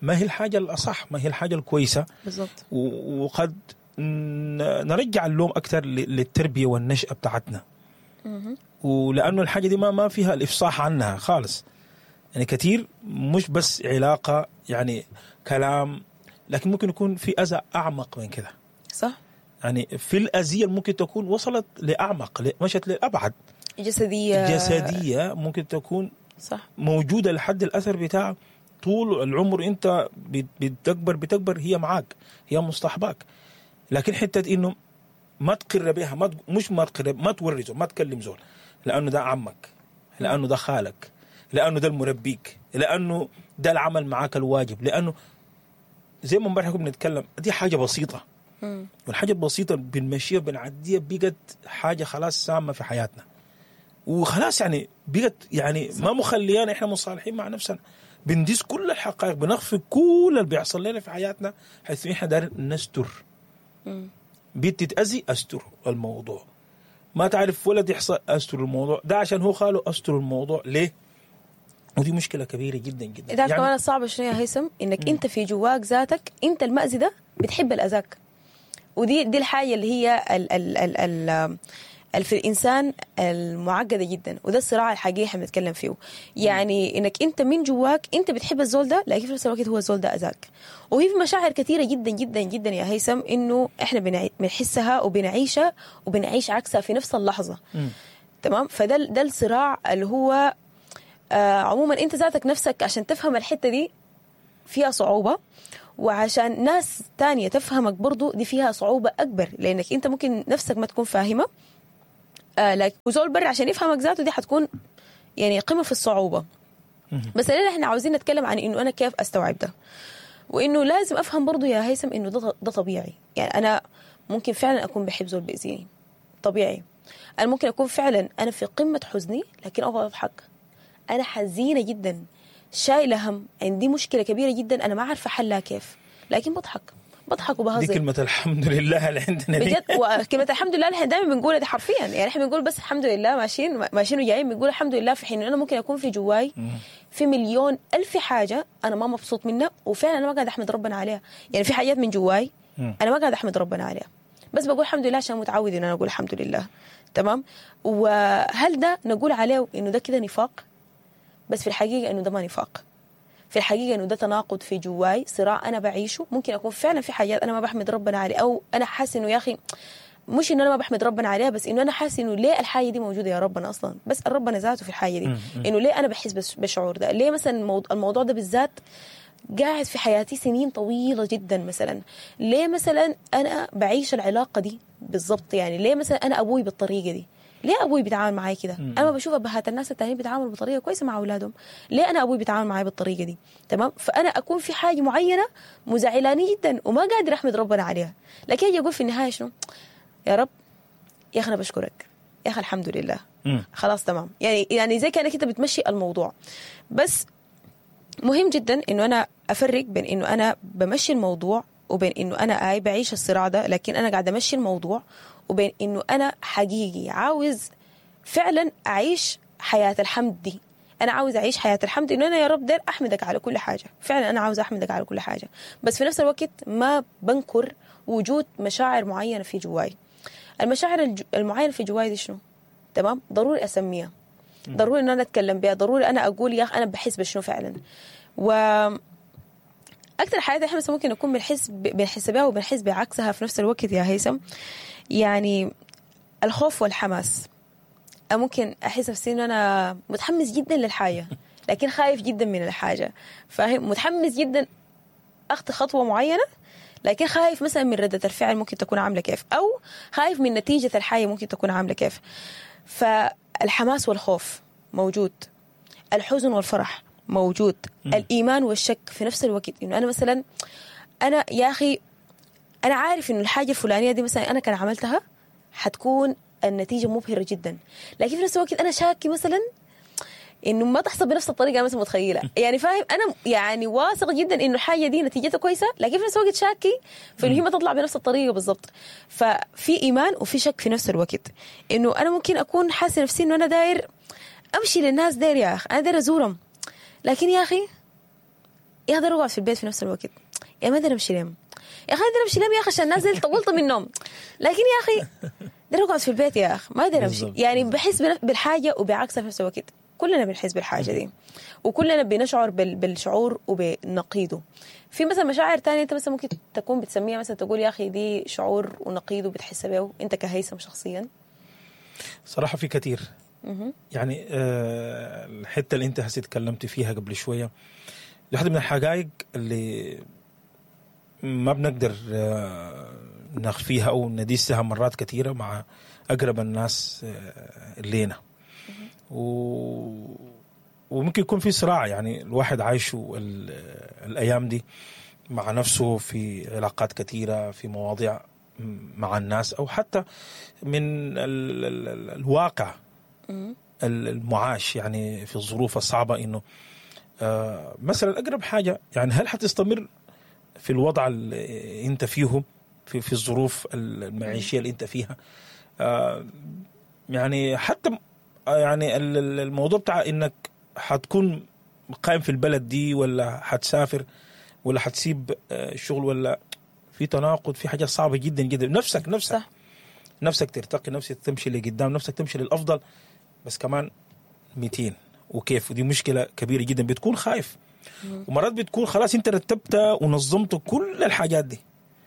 ما هي الحاجة الاصح، ما هي الحاجة الكويسة بالضبط. وقد نرجع اللوم أكثر للتربية والنشأة بتاعتنا، ولأنه الحاجة دي ما فيها الإفصاح عنها خالص. يعني كثير مش بس علاقة يعني كلام، لكن ممكن يكون في أذى أعمق من كده، صح؟ يعني في الأذية ممكن تكون وصلت لأعمق، مشت لأبعد، جسدية ممكن تكون صح موجودة لحد الأثر بتاع طول العمر. أنت بتكبر هي معاك، هي مصطحباك. لكن حتة إنه ما تقر بها، ما مش ما تقر، ما توري زول، ما تكلم زول، لأنه ده عمك، لأنه ده خالك، لأنه ده المربيك، لأنه ده العمل معاك الواجب، لأنه زي ما امبارح كنا بنتكلم دي حاجة بسيطة، والحاجة البسيطة بنمشيها بنعديها بقت حاجة خلاص سامة في حياتنا، وخلاص يعني بقت يعني ما مخليانا إحنا مصالحين مع نفسنا، بندس كل الحقائق، بنخفي كل اللي بيحصل لنا في حياتنا، حيث إحنا دارين نستر. بيت تتأذي أستر الموضوع، ما تعرف ولد يحصل أستر الموضوع ده، عشان هو خاله أستر الموضوع ليه؟ ودي مشكلة كبيرة جدا جدا. إذا يعني كمان الصعب شنو يا هيثم؟ إنك أنت في جواك ذاتك أنت المأذي ده بتحب الأذاك، ودي دي الحاجة اللي هي ال ال ال ال في الإنسان المعقدة جدا، وده الصراع الحقيقي احنا بنتكلم فيه. يعني إنك أنت من جواك أنت بتحب الزول ده، لكن في نفس الوقت هو الزول ده أذاك. وهي في مشاعر كثيرة جدا جدا جدا يا هيثم إنه إحنا بنحسها وبنعيشها وبنعيش عكسها في نفس اللحظة. تمام. فده ده الصراع اللي هو عموما انت ذاتك نفسك عشان تفهم الحتة دي فيها صعوبة، وعشان ناس تانية تفهمك برضو دي فيها صعوبة اكبر، لانك انت ممكن نفسك ما تكون فاهمه، لكن وزول برا عشان يفهمك ذاته دي حتكون يعني قمة في الصعوبة. بس الليلة احنا عاوزين نتكلم عن انه انا كيف استوعب ده، وانه لازم افهم برضو يا هيثم انه ده طبيعي. يعني انا ممكن فعلا اكون بحب زول بيأذيني، طبيعي. انا ممكن اكون فعلا انا في قمة حزني لكن اقعد اضحك. انا حزينة جدا، شايله هم، عندي مشكلة كبيرة جدا انا ما عارفه حلها كيف، لكن بضحك بضحك وبهزر. دي كلمة الحمد لله اللي عندنا دي بجد، وكلمة الحمد لله اللي احنا دائما بنقولها دي حرفيا، يعني احنا بنقول بس الحمد لله، ماشيين ماشيين وجايين بنقول الحمد لله، في حين انا ممكن اكون في جواي في مليون الف حاجة انا ما مبسوط منها، وفعلا انا ما قاعد احمد ربنا عليها. يعني في حاجات من جواي انا ما قاعد احمد ربنا عليها، بس بقول الحمد لله عشان متعود ان انا اقول الحمد لله. تمام. وهل ده نقول عليه انه ده كده نفاق؟ بس في الحقيقة انه ده ما نفاق. في الحقيقة انه ده تناقض في جواي، صراع انا بعيشه. ممكن اكون فعلا في حاجات انا ما بحمد ربنا عليها، او انا حاسس انه يا اخي مش انه انا ما بحمد ربنا عليها، بس انه انا حاسس انه ليه الحاجة دي موجودة يا ربنا اصلا، بسال ربنا ذاته في الحاجة دي، انه ليه انا بحس بالشعور ده، ليه مثلا الموضوع ده بالذات قاعد في حياتي سنين طويلة جدا مثلا، ليه مثلا انا بعيش العلاقة دي بالضبط، يعني ليه مثلا انا ابوي بالطريقة دي، ليه ابوي بيتعامل معي كده؟ انا ما بشوف ابهات الناس التانيين بيتعاملوا بطريقة كويسة مع اولادهم، ليه انا ابوي بيتعامل معي بالطريقة دي؟ تمام. فانا اكون في حاجة معينة مزعلاني جدا وما قادر احمد ربنا عليها، لكن اجي اقول في النهاية شنو؟ يا رب يا اخي انا بشكرك، يا اخي الحمد لله، خلاص تمام. يعني زي كانك انت بتمشي الموضوع. بس مهم جدا انه انا افرق بين انه انا بمشي الموضوع وبين انه انا بعيش الصراع ده لكن انا قاعدة امشي الموضوع، وبين انه انا حقيقي عاوز فعلا اعيش حياة الحمد دي. انا عاوز اعيش حياة الحمد، انه انا يا رب داير احمدك على كل حاجة، فعلا انا عاوز احمدك على كل حاجة، بس في نفس الوقت ما بنكر وجود مشاعر معينة في جواي. المشاعر المعينة في جواي دي شنو؟ تمام، ضروري اسميها، ضروري ان انا اتكلم بها، ضروري انا اقول يا اخي انا بحس بشنو فعلا. و اكثر حاجات احنا ممكن نكون بنحس بها وبنحس بعكسها في نفس الوقت يا هيثم، يعني الخوف والحماس. ممكن احس نفسي انه انا متحمس جدا للحاجة لكن خايف جدا من الحاجة، فاهم؟ متحمس جدا اخطي خطوة معينة لكن خايف مثلا من ردة الفعل ممكن تكون عامله كيف، او خايف من نتيجة الحاجة ممكن تكون عامله كيف. فالحماس والخوف موجود، الحزن والفرح موجود، الإيمان والشك في نفس الوقت. إنه أنا مثلا أنا يا أخي أنا عارف إنه الحاجة الفلانية دي مثلا أنا كان عملتها حتكون النتيجة مبهرة جدا، لكن في نفس الوقت أنا شاكي مثلا إنه ما تحصل بنفس الطريقة أنا مثلا متخيلة، يعني فاهم؟ أنا يعني واثق جدا إنه الحاجة دي نتيجتها كويسة، لكن في نفس الوقت شاكي في إنه هي ما تطلع بنفس الطريقة بالضبط. ففي إيمان وفي شك في نفس الوقت. إنه أنا ممكن أكون حاسة نفسي إنه أنا داير أمشي للناس، داير يا أخي أنا داير أزورهم، لكن يا أخي يا أخي أقعد في البيت في نفس الوقت، يا ما أقدر أمشي لهم، يا أخي أقدر أمشي لهم يا أخي عشان الناس طولت منهم، لكن يا أخي أقدر أقعد في البيت يا أخي ما أقدر أمشي. يعني بحس بالحاجة وبعكسها في نفس الوقت. كلنا بنحس بالحاجة دي وكلنا بنشعر بالشعور وبنقيده. في مثلا مشاعر تانية أنت مثلا ممكن تكون بتسميها مثلا تقول يا أخي دي شعور ونقيده بتحس به أنت كهيثم شخصيا؟ صراحة في كثير. يعني الحتة اللي انت هسي تكلمت فيها قبل شوية، واحدة من الحقائق اللي ما بنقدر نخفيها او ندسها مرات كثيرة مع اقرب الناس لينا، وممكن يكون في صراع يعني الواحد عايشه الايام دي مع نفسه في علاقات كثيرة، في مواضيع مع الناس، او حتى من الواقع المعاش، يعني في الظروف الصعبة. إنه مثلا أقرب حاجة يعني هل حتستمر في الوضع اللي أنت فيه في الظروف المعيشية اللي أنت فيها؟ يعني حتى يعني الموضوع بتاع إنك حتكون قائم في البلد دي ولا حتسافر ولا حتسيب الشغل، ولا في تناقض، في حاجة صعبة جدا جدا. نفسك صح. نفسك ترتقي، نفسك تمشي لقدام، نفسك تمشي للأفضل، بس كمان 200 وكيف، ودي مشكلة كبيرة جدا. بتكون خايف، ومرات بتكون خلاص انت رتبت ونظمت كل الحاجات دي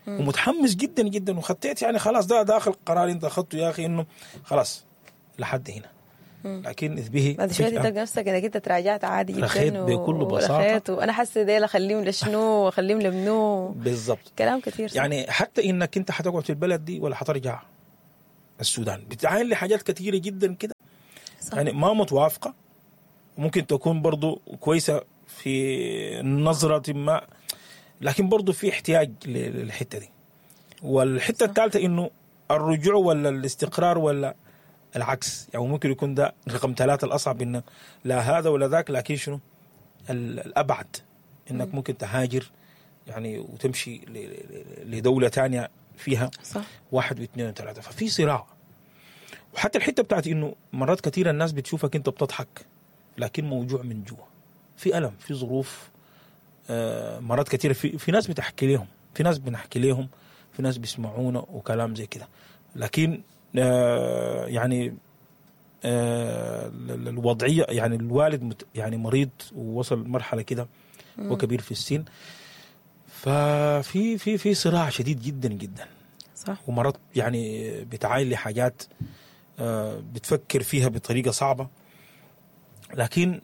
ومتحمس جدا جدا وخطيت، يعني خلاص ده داخل قرار انت اخذته يا اخي انه خلاص لحد هنا. لكن اذ به بعد شوية فجأة تلقى نفسك انك انت تراجعت عادي جدا. رخيت بكل بساطة. ورخيت، وانا حاسه ديل اخليهم لشنو واخليهم لمنو. بالضبط. كلام كثير صح. يعني حتى انك انت حتقعد في البلد دي ولا حترجع السودان، بتعاين لحاجات كثيرة جدا كده صح. يعني ما متوافقة، وممكن تكون برضو كويسة في نظره ما، لكن برضو في احتياج للحتة دي. والحتة الثالثة انه الرجوع ولا الاستقرار ولا العكس، يعني ممكن يكون ده رقم 3 الاصعب، انه لا هذا ولا ذاك، لكن شنو الابعد انك ممكن تهاجر يعني وتمشي لدولة ثانية فيها صح. 1 و2 و3. ففي صراع. وحتى الحتة بتاعت انه مرات كثيرة الناس بتشوفك انت بتضحك لكن موجوع من جوا، في الم، في ظروف. مرات كثيرة في ناس بتحكي لهم، في ناس بنحكي لهم، في ناس بيسمعونا وكلام زي كده، لكن يعني الوضعية يعني الوالد يعني مريض ووصل مرحلة كده وكبير في السن، ففي في في صراع شديد جدا جدا. صح. ومرات يعني بتعاين لحاجات بتفكر فيها بطريقة صعبة، لكن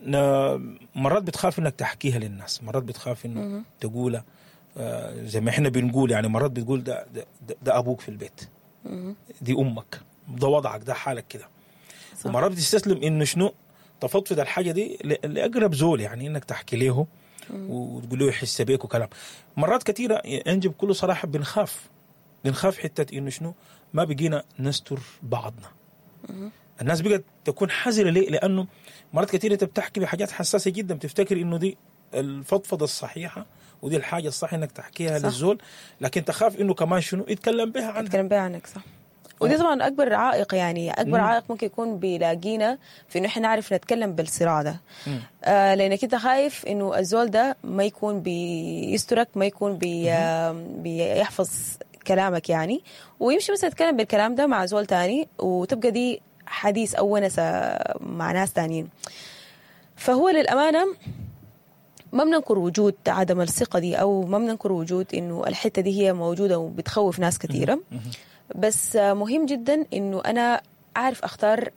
مرات بتخاف انك تحكيها للناس، مرات بتخاف انه تقولها زي ما احنا بنقول، يعني مرات بتقول ده, ده, ده ابوك في البيت، دي امك، ده وضعك، ده حالك كده. ومرات بتستسلم انه شنو تفضفض الحاجة دي لاقرب زول، يعني انك تحكي له وتقول له يحس بيك وكلام. مرات كثيرة انجي بكل صراحة بنخاف حتة انه شنو ما بقينا نستر بعضنا. الناس بقت تكون حذره ليه؟ لانه مرات كثيرة انت بتحكي بحاجات حساسة جدا، بتفتكر انه دي الفضفضة الصحيحة ودي الحاجة الصح انك تحكيها صح. للزول، لكن تخاف انه كمان شنو يتكلم بها عنك، يتكلم بها عنك. صح. ودي طبعا اكبر عائق، يعني اكبر عائق ممكن يكون بيلاقينا في انه احنا نعرف نتكلم بالصراع ده. لانك انت خايف انه الزول ده ما يكون بيسترك، ما يكون بيحفظ كلامك يعني، ويمشي مثلا يتكلم بالكلام ده مع زول تاني، وتبقى دي حديث او ونسه مع ناس تانيين. فهو للامانة ما بننكر وجود عدم الثقة دي، او ما بننكر وجود انه الحتة دي هي موجودة وبتخوف ناس كثيرة، بس مهم جدا انه انا اعرف اختار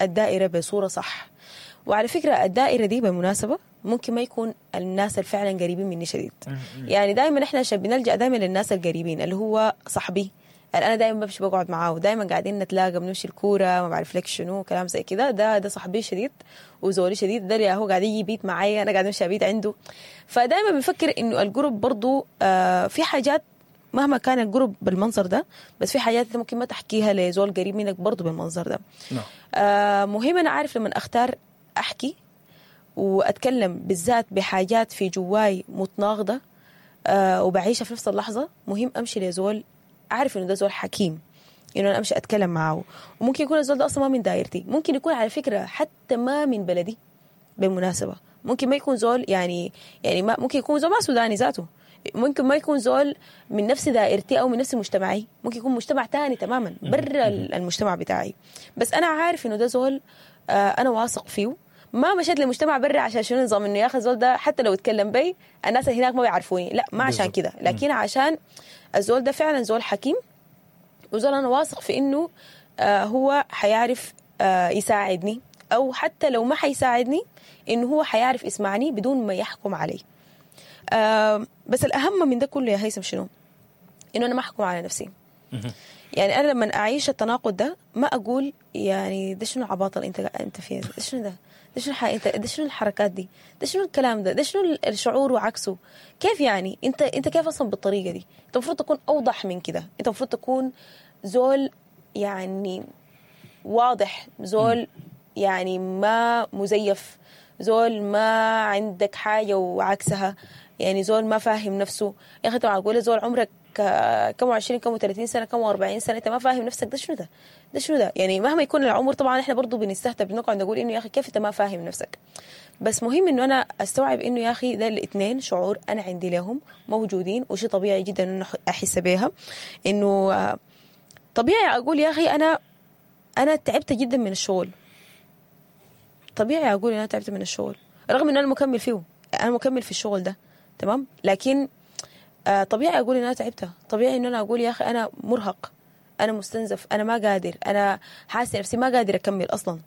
الدائرة بصورة صح. وعلى فكرة الدائرة دي بالمناسبة ممكن ما يكون الناس اللي فعلا قريبين مني شديد. يعني دائما احنا عشان بنلجا دائما للناس القريبين، اللي هو صاحبي اللي انا دائما بمشي بقعد معاه، ودائما قاعدين نتلاقى، بنمشي الكورة، ما بعرف لك شنو، كلام زي كده. ده صاحبي شديد وزولي شديد، ده اللي هو قاعد يجي بيت معايا، انا قاعد امشي ابيت عنده. فدائما بنفكر انه القرب برضو في حاجات مهما كان القرب بالمنظر ده، بس في حاجات انت ممكن ما تحكيها لزول قريب منك برضو بالمنظر ده. مهم انا عارف لما اختار احكي واتكلم بالذات بحاجات في جواي متناقضة وبعيشها في نفس اللحظة، مهم امشي لزول اعرف انه ده زول حكيم، انه انا امشي اتكلم معه. وممكن يكون الزول ده اصلا ما من دايرتي، ممكن يكون على فكرة حتى ما من بلدي بالمناسبة، ممكن ما يكون زول يعني ما ممكن يكون زول ما سوداني ذاته، ممكن ما يكون زول من نفس دائرتي او من نفس مجتمعي، ممكن يكون مجتمع تاني تماما برا المجتمع بتاعي، بس انا عارف انه ده زول انا واثق فيه. ما مشيت لمجتمع برا عشان شنو نظام انه يا اخي الزول ده حتى لو اتكلم بي الناس اللي هناك ما بيعرفوني، لا ما عشان كده، لكن عشان الزول ده فعلا زول حكيم، وزول انا واثق في انه هو حيعرف يساعدني، او حتى لو ما حيساعدني انه هو حيعرف يسمعني بدون ما يحكم علي. بس الأهم من ده كله يا هيثم شنو؟ إنه أنا ما أحكم على نفسي. يعني أنا لما أعيش التناقض ده ما أقول يعني ده شنو العباطة اللي أنت فيها، ده شنو ده؟ ده شنو ده شنو الحركات دي؟ ده شنو الكلام ده؟ ده شنو الشعور وعكسه؟ كيف يعني؟ أنت كيف أصلا بالطريقة دي؟ أنت المفروض تكون أوضح من كده، أنت المفروض تكون زول يعني واضح، زول يعني ما مزيف، زول ما عندك حاجة وعكسها، يعني زول ما فاهم نفسه. يا أخي طبعا أقول زول عمرك كم 20 كم 30 سنة كم 40 سنة أنت ما فاهم نفسك، ده شنو ده؟ ده شنو ده؟ يعني مهما يكون العمر طبعا إحنا برضو بنستهتر، بنقعد نقول إنه يا أخي كيف أنت ما فاهم نفسك. بس مهم إنه أنا أستوعب إنه يا أخي ده الاثنين شعور أنا عندي لهم موجودين، وشي طبيعي جدا إنه أحس بيها، إنه طبيعي أقول يا أخي أنا تعبت جدا من الشغل، طبيعي أقول إن أنا تعبت من الشغل رغم إن أنا مكمل فيه، أنا مكمل في الشغل ده تمام، لكن طبيعي أقول إن أنا تعبت، طبيعي إن أنا أقول يا أخي أنا مرهق، أنا مستنزف، أنا ما قادر، أنا حاسة نفسي ما قادر أكمل أصلا.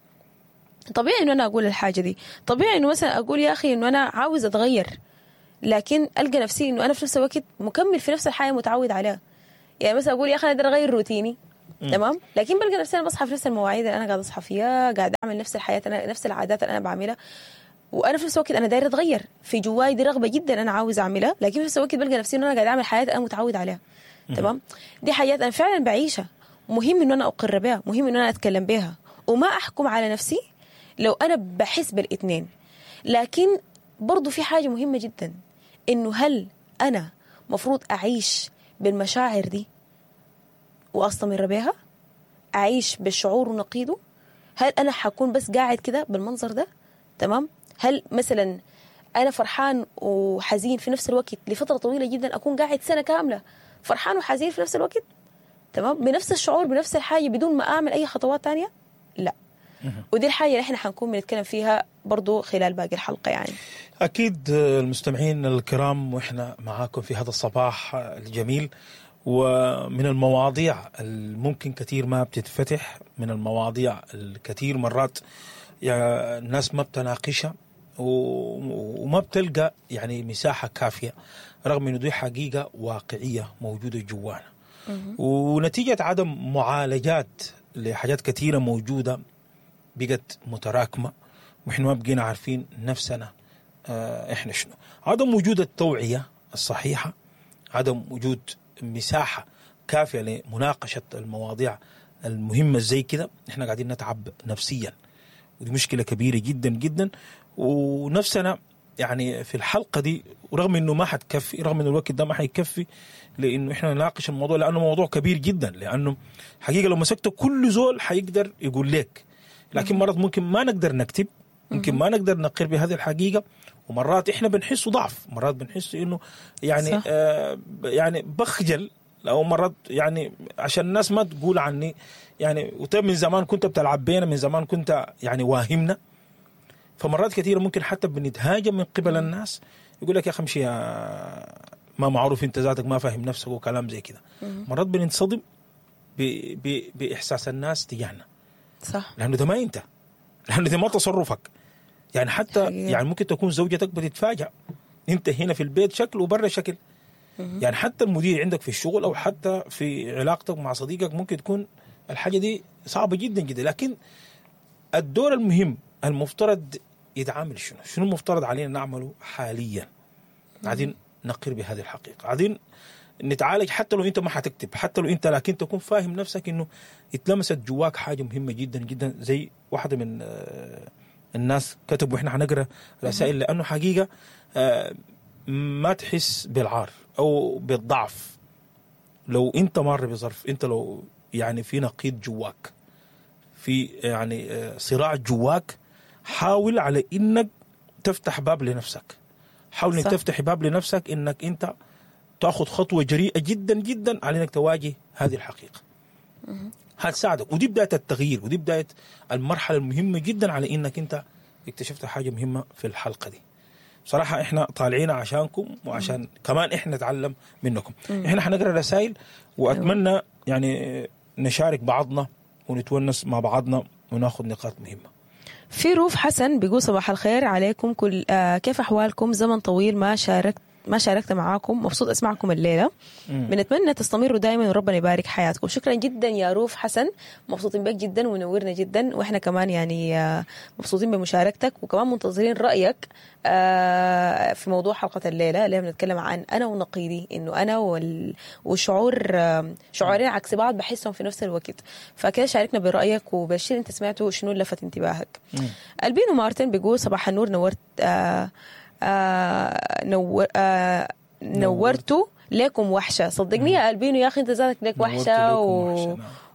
طبيعي انه انا اقول الحاجة دي، طبيعي انه مثلا اقول يا اخي انه انا عاوز اتغير، لكن القى نفسي انه انا في نفس الوقت مكمل في نفس الحياة متعود عليها. يعني مثلا اقول يا اخي انا اقدر اغير روتيني، تمام، لكن بلقى نفسي انا بصحى في نفس المواعيد اللي انا قاعدة اصحى فيها، قاعدة اعمل نفس الحياة، انا نفس العادات اللي انا بعملها، وانا في نفس الوقت انا دايرة اتغير، في جواي دي رغبة جدا انا عاوز اعملها، لكن في نفس الوقت بلقى نفسي انه انا قاعدة اعمل حياة انا متعود عليها. تمام، دي حاجات انا فعلا بعيشها، مهم انه انا اقر بها، مهم انه انا اتكلم بها وما احكم على نفسي لو انا بحس بالاثنين. لكن برضو في حاجة مهمة جدا، انه هل انا مفروض اعيش بالمشاعر دي واستمر بها؟ اعيش بالشعور ونقيضه؟ هل انا حكون بس قاعد كده بالمنظر ده؟ تمام، هل مثلا انا فرحان وحزين في نفس الوقت لفترة طويلة جدا، اكون قاعد سنة كاملة فرحان وحزين في نفس الوقت، تمام، بنفس الشعور بنفس الحاجة بدون ما اعمل اي خطوات تانية؟ لا. ودي الحاجة اللي احنا حنكون بنتكلم فيها برضو خلال باقي الحلقة يعني. أكيد المستمعين الكرام، وإحنا معاكم في هذا الصباح الجميل، ومن المواضيع الممكن كثير ما بتتفتح، من المواضيع الكثير مرات يعني الناس ما بتناقشها وما بتلقى يعني مساحة كافية، رغم إنه دي حقيقة واقعية موجودة جوانا، ونتيجة عدم معالجات لحاجات كثيرة موجودة بقت متراكمة، وإحنا ما بقينا عارفين نفسنا إحنا شنو. عدم وجود التوعية الصحيحة، عدم وجود مساحة كافية لمناقشة المواضيع المهمة زي كده، إحنا قاعدين نتعب نفسيا، ودي مشكلة كبيرة جدا جدا. ونفسنا يعني في الحلقة دي، ورغم إنه ما حتكفي، رغم إنه الوقت ده ما حيكفي لإنه إحنا نناقش الموضوع، لأنه موضوع كبير جدا، لأنه حقيقة لو مسكته كل زول حيقدر يقول لك، لكن مرات ممكن ما نقدر نكتب، ممكن ما نقدر نقر بهذه الحقيقة، ومرات إحنا بنحس ضعف، مرات بنحس إنه يعني يعني بخجل، أو مرات يعني عشان الناس ما تقول عني يعني، وطيب من زمان كنت بتلعب بينا، من زمان كنت يعني واهمنا. فمرات كثيرة ممكن حتى بنتهاجم من قبل الناس، يقول لك يا أخي امشي ما معروف أنت ذاتك، ما فاهم نفسك وكلام زي كده. مرات بننصدم بإحساس الناس تجاهنا، صح، لأنه ده ما أنت، لأنه ده ما تصرفك يعني. حتى حقيقة. يعني ممكن تكون زوجتك بتتفاجأ، أنت هنا في البيت شكل وبرا شكل. يعني حتى المدير عندك في الشغل أو حتى في علاقتك مع صديقك ممكن تكون الحاجة دي صعبة جدا جدا. لكن الدور المهم المفترض يتعامل شنو المفترض علينا نعمله حاليا؟ قاعدين نقر بهذه الحقيقة، قاعدين نتعالج، حتى لو انت ما حتكتب، حتى لو انت، لكن تكون فاهم نفسك انه اتلمست جواك حاجة مهمة جدا جدا. زي واحدة من الناس كتبوا، احنا حنقرا رسائل، لانه حقيقة ما تحس بالعار او بالضعف لو انت مار بظرف، انت لو يعني في نقيض جواك، في يعني صراع جواك، حاول على انك تفتح باب لنفسك، حاول انك تفتح باب لنفسك، انك انت تاخذ خطوة جريئة جدا جدا على انك تواجه هذه الحقيقة. هتساعدك، ودي بداية التغيير، ودي بداية المرحلة المهمة جدا على انك انت اكتشفت حاجة مهمة في الحلقة دي. صراحة احنا طالعين عشانكم، وعشان كمان احنا نتعلم منكم. احنا حنقرا رسائل، واتمنى يعني نشارك بعضنا ونتونس مع بعضنا وناخذ نقاط مهمة. في روف حسن بيقول صباح الخير عليكم كل كيف أحوالكم؟ زمن طويل ما شاركت معاكم، مبسوط أسمعكم الليلة. بنتمنى تستمروا دائما وربنا يبارك حياتكم. شكرا جدا يا روف حسن، مبسوطين بك جدا ونورنا جدا، وإحنا كمان يعني مبسوطين بمشاركتك، وكمان منتظرين رأيك في موضوع حلقة الليلة اللي بنتكلم عن أنا ونقيضي، إنه أنا والشعور شعورين عكس بعض بحسهم في نفس الوقت. فكده شاركنا برأيك وبالشيء اللي أنت سمعته، شنو اللي لفت انتباهك. ألبينو مارتن بيقول صباح النور، نورت نورتوا لكم وحشة. صدقني يا ألبينو يا أخي أنت ذاتك لك وحشة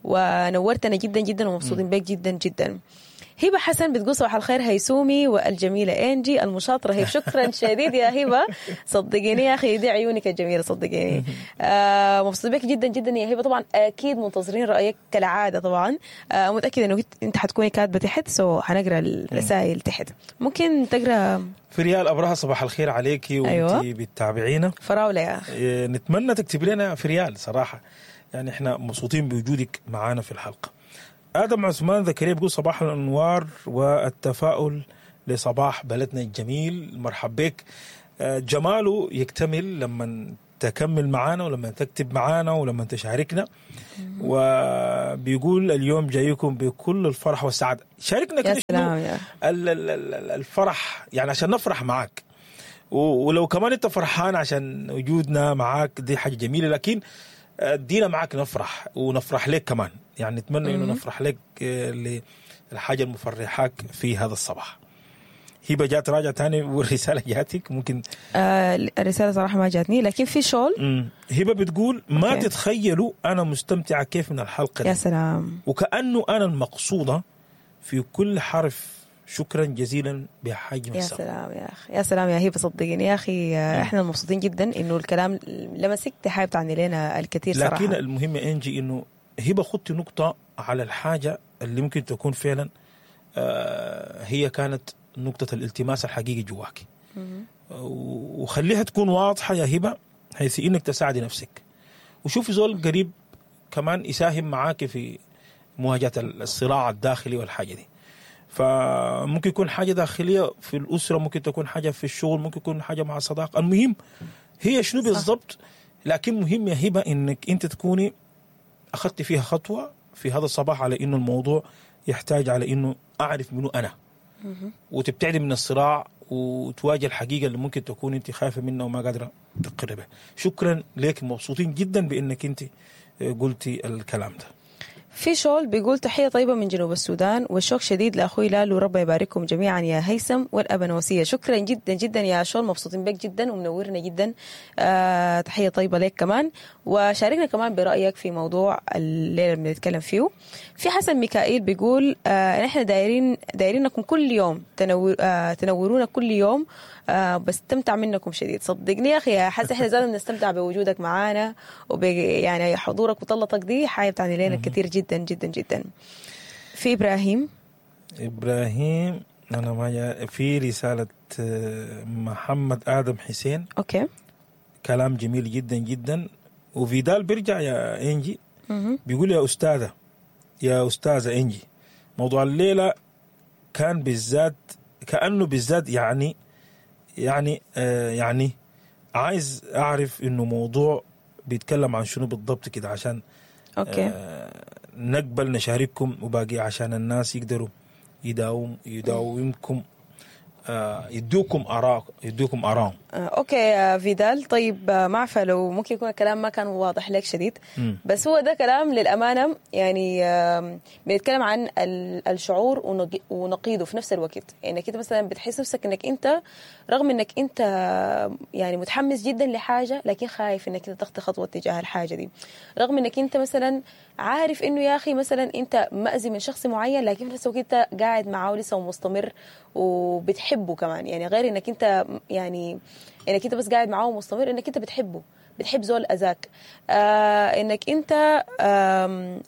ونورتنا جدا جدا ومبسوطين بك جدا جدا. هبة حسن بتقول صباح الخير هيسومي والجميلة إنجي المشاطرة هي. شكرا شديد يا هبة، صدقيني يا أخي دي عيونك الجميلة، صدقيني مبسوط بك جدا جدا يا هبة. طبعا أكيد منتظرين رأيك كالعادة، طبعا متأكدة إنه أنت حتكوني كاتبة تحت، so حنقرأ الرسائل تحت. ممكن تقرأ فريال أبرهة، صباح الخير عليكي وانتي أيوة. بتتابعينا فراولة يا أخي، نتمنى تكتب لنا فريال صراحة، يعني احنا مبسوطين بوجودك معانا في الحلقة. ادم عثمان زكريا بيقول صباح الانوار والتفاؤل لصباح بلدنا الجميل. مرحب بك. جماله يكتمل لما تكمل معانا ولما تكتب معانا ولما تشاركنا. وبيقول اليوم جايكم بكل الفرح والسعادة. شاركنا كده شنو الفرح، يعني عشان نفرح معاك، ولو كمان انت فرحان عشان وجودنا معاك دي حاجة جميلة، لكن ادينا معاك نفرح ونفرح لك كمان. يعني نتمنى انه نفرح لك للحاجة المفرحاك في هذا الصباح. هبه جات راجع تاني والرسالة جاتك ممكن؟ الرسالة صراحة ما جاتني، لكن في شغل. هبه بتقول ما تتخيلوا انا مستمتعه كيف من الحلقة دي. يا سلام، وكانه انا المقصودة في كل حرف. شكرا جزيلا بحجم يا سلام يا اخي، يا سلام يا هبه، صدقني يا اخي احنا مبسوطين جدا انه الكلام لمسك، دي حاجة بتعني لنا الكثير صراحة. لكن المهم انجي انه هبه خدتي نقطة على الحاجة اللي ممكن تكون فعلا هي كانت نقطة الالتماس الحقيقي جواك، وخليها تكون واضحة يا هبة حيث إنك تساعدي نفسك، وشوفي زول قريب كمان يساهم معاك في مواجهة الصراع الداخلي والحاجة دي. فممكن يكون حاجة داخلية في الأسرة، ممكن تكون حاجة في الشغل، ممكن يكون حاجة مع الصداقة. المهم هي شنو بالضبط، لكن مهم يا هبة إنك أنت تكوني أخذت فيها خطوة في هذا الصباح على إنه الموضوع يحتاج على إنه أعرف منه أنا، وتبتعدي من الصراع وتواجه الحقيقة اللي ممكن تكون انت خايفة منها وما قادرة تقربها. شكرا لك، مبسوطين جدا بانك انت قلتي الكلام ده. في شول بيقول تحية طيبة من جنوب السودان، والشوق شديد لأخوي لالو، ربي يبارككم جميعا يا هيثم والأبنوسية. شكرا جدا جدا يا شول، مبسوطين بك جدا ومنورنا جدا. تحية طيبة لك كمان، وشاركنا كمان برأيك في موضوع الليلة اللي بنتكلم فيه. في حسن ميكائيل بيقول نحن دايرينكم كل يوم، تنورونا كل يوم، بستمتع منكم شديد. صدقني يا أخي يا حسن، احنا زادنا بنستمتع بوجودك معانا وب يعني حضورك وطلتك دي حاجة بتعني لنا كثير جدا جدا جدا. في إبراهيم أنا ما في رسالة محمد آدم حسين. okay، كلام جميل جدا جدا. وفيدال بيرجع يا إنجي بيقول يا أستاذة إنجي، موضوع الليلة كان بالذات كأنه بالذات يعني يعني يعني عايز أعرف إنه موضوع بيتكلم عن شنو بالضبط كده، عشان okay نقبل نشارككم وباقي عشان الناس يقدروا يداومكم يدوكم آراء، يدوكم آراء. okay يا فيدال، طيب ما عارفه لو ممكن يكون الكلام ما كان واضح لك شديد، بس هو ده كلام للأمانة يعني بنتكلم عن الشعور ونقيضه في نفس الوقت. يعني كده مثلا بتحس نفسك انك انت رغم انك انت يعني متحمس جدا لحاجة، لكن خايف انك انت تخطي خطوة تجاه الحاجة دي، رغم انك انت مثلا عارف انه يا اخي مثلا انت مأذي من شخص معين، لكن في نفس الوقت انت قاعد معاه لسه ومستمر وبتحبه كمان. يعني غير انك انت يعني انك انت بس قاعد معاه ومستمر، انك انت بتحبه، بتحب زول اذاك. انك انت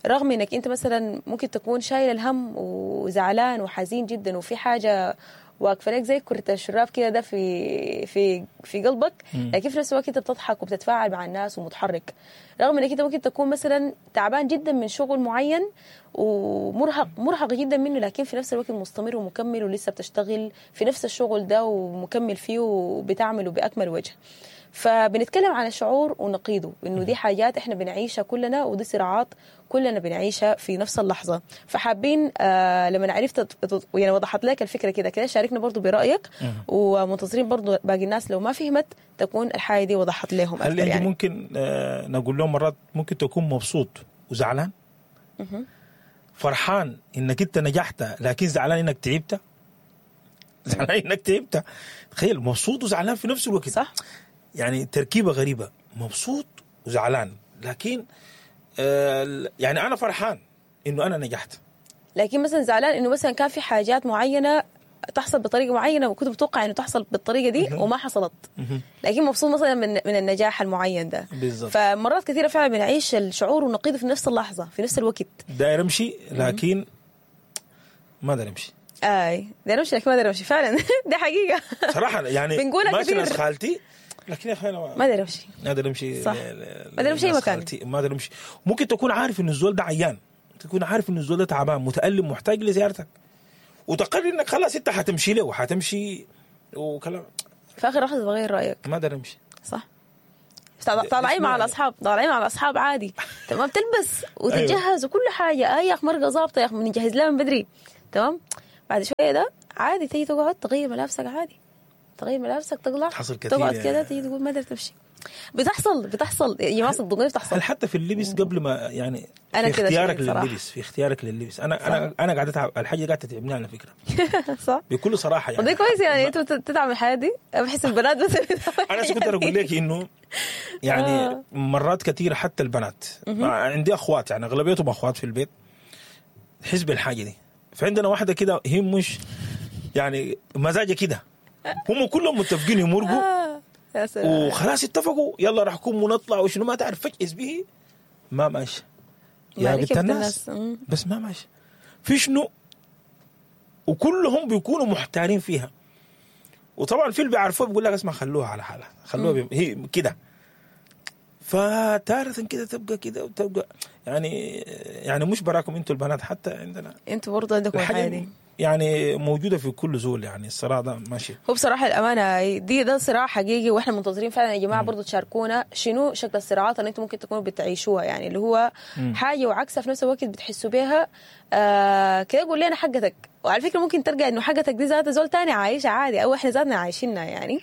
رغم انك انت مثلا ممكن تكون شايل الهم وزعلان وحزين جدا، وفي حاجة واقفة لك زي كرة الشراب كده ده في في في قلبك، لكن في نفس الوقت انت بتضحك وبتتفاعل مع الناس ومتحرك، رغم انك انت ممكن تكون مثلا تعبان جدا من شغل معين ومرهق مرهق جدا منه، لكن في نفس الوقت مستمر ومكمل ولسه بتشتغل في نفس الشغل ده ومكمل فيه وبتعمله باكمل وجه. فبنتكلم عن الشعور ونقيضه، انه دي حاجات احنا بنعيشها كلنا، ودي صراعات كلنا بنعيشها في نفس اللحظة. فحابين لما عرفت يعني وضحت لك الفكرة كده كده، شاركنا برضو برايك، ومنتظرين برضو باقي الناس لو ما فهمت تكون الحاجة دي وضحت لهم اكثر. هل يعني ممكن نقول لهم مرات ممكن تكون مبسوط وزعلان، فرحان انك انت نجحت لكن زعلان انك تعبت، زعلان انك تعبت. تخيل مبسوط وزعلان في نفس الوقت، صح؟ يعني تركيبة غريبة، مبسوط وزعلان، لكن يعني أنا فرحان إنه أنا نجحت، لكن مثلا زعلان إنه مثلا كان في حاجات معينة تحصل بطريقة معينة وكنت متوقع إنه تحصل بالطريقة دي وما حصلت، لكن مبسوط مثلا من النجاح المعين ده. بالزبط. فمرات كثيرة فعلا بنعيش الشعور ونقيضه في نفس اللحظة في نفس الوقت. داير أمشي لكن ما داير أمشي. آي داير أمشي لكن ما داير أمشي فعلا. ده حقيقة صراحة يعني بنقولها كثير. ماشي ناس خالتي لكن يا اخي انا ما ادري امشي، ما ادري امشي، صح، ما ادري امشي اي مكان، ما ادري امشي. ممكن تكون عارف انه الزول ده عيان، تكون عارف انه الزول ده تعبان متالم محتاج لزيارتك، وتقرر انك خلاص انت حتمشي له وحتمشي وكلام، في اخر لحظة تغير رايك. ما اقدر امشي. صح. طالعين مع الاصحاب، طالعين مع الاصحاب عادي، تمام، تلبس وتتجهز وكل حاجة، اي يا اخي مرقه ظابطة يا اخي، بنجهز لها من بدري، تمام. بعد شوية ده عادي تيجي تقعد تغير ملابسك عادي، تغير ملابسك تطلع حصل كثير، تقعد كده تيجي تقول ما قدرت تمشي. بتحصل يا جماعة، صدقوني بتحصل. هل حتى في اللبس قبل ما يعني أنا في اختيارك لللبس، في اختيارك لللبس انا انا قاعدة اتعب، الحاجة قاعدة تتعبني على فكرة. صح، بكل صراحة يعني. وده كويس يعني انتوا بتتعب الحياة دي، بحس البنات بس. انا كنت اقول لك انه يعني مرات كثيرة حتى البنات، عندي اخوات يعني اغلبيتهم اخوات في البيت، تحس بالحاجة دي. فعندنا واحدة كده هي مش يعني مزاجها كده، هم كلهم متفقين يمرقوا وخلاص اتفقوا يلا راح نكون ونطلع وشنو ما تعرف، فجأة به ما ماشي يا بنت الناس، بس ما ماشي في شنو، وكلهم بيكونوا محتارين فيها. وطبعا في اللي بيعرفوه بيقول لك اسمع خلوها على حالها، خلوها هي كده. فتارة كده تبقى كده وتبقى يعني مش براكم انتوا البنات، حتى عندنا انتوا برضه عندكم الحاجة دي يعني موجودة في كل زول، يعني الصراع ده ماشي. هو بصراحة الامانة دي ده صراع حقيقي، واحنا منتظرين فعلا يا جماعة برضو تشاركونا شنو شكل الصراعات اللي انتم ممكن تكونوا بتعيشوها، يعني اللي هو حاجة وعكسها في نفس الوقت بتحسوا بيها. كده قول لنا حقتك، وعلى فكرة ممكن ترجع انه حقتك دي ذاتها زول تاني عايشها عادي، او احنا ذاتنا عايشينها يعني.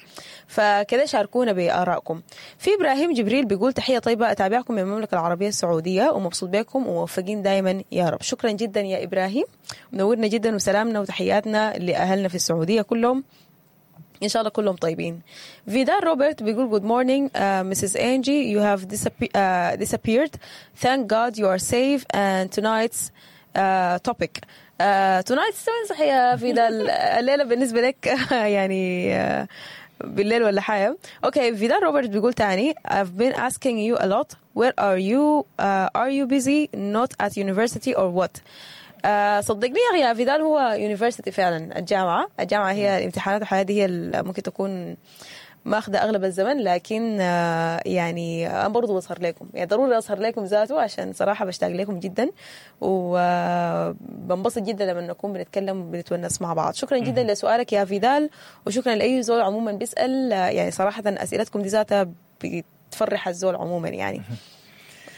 فكده شاركونا بارائكم. في ابراهيم جبريل بيقول تحية طيبة، اتابعكم من المملكة العربية السعودية ومبسوط بكم وموفقين دائما يا رب. شكرا جدا يا ابراهيم، منورنا جدا، وسلامنا وتحياتنا لاهلنا في السعودية كلهم، إن شاء الله كلهم طيبين. فيدال روبرت بيقول good morning Mrs. Angie, you have disappeared, thank God you are safe and tonight's topic tonight's. صح يا فيدال، الليلة بالنسبة لك يعني بالليل ولا حاجة. okay، فيدال روبرت بيقول تاني I've been asking you a lot, where are you, are you busy not at university or what. صدقني يا فيدال هو university فعلا، الجامعة هي الامتحانات والحياة دي هي ممكن تكون ماخذة أغلب الزمن، لكن يعني أنا برضو بظهر لكم، يعني ضروري أظهر لكم ذاته، عشان صراحة بشتاق لكم جدا وبنبسط جدا لما نكون بنتكلم وبنتونس مع بعض. شكرا جدا لسؤالك يا فيدال، وشكرا لأي زول عموما بيسأل، يعني صراحة أسئلتكم دي ذاتها بتفرح الزول عموما يعني.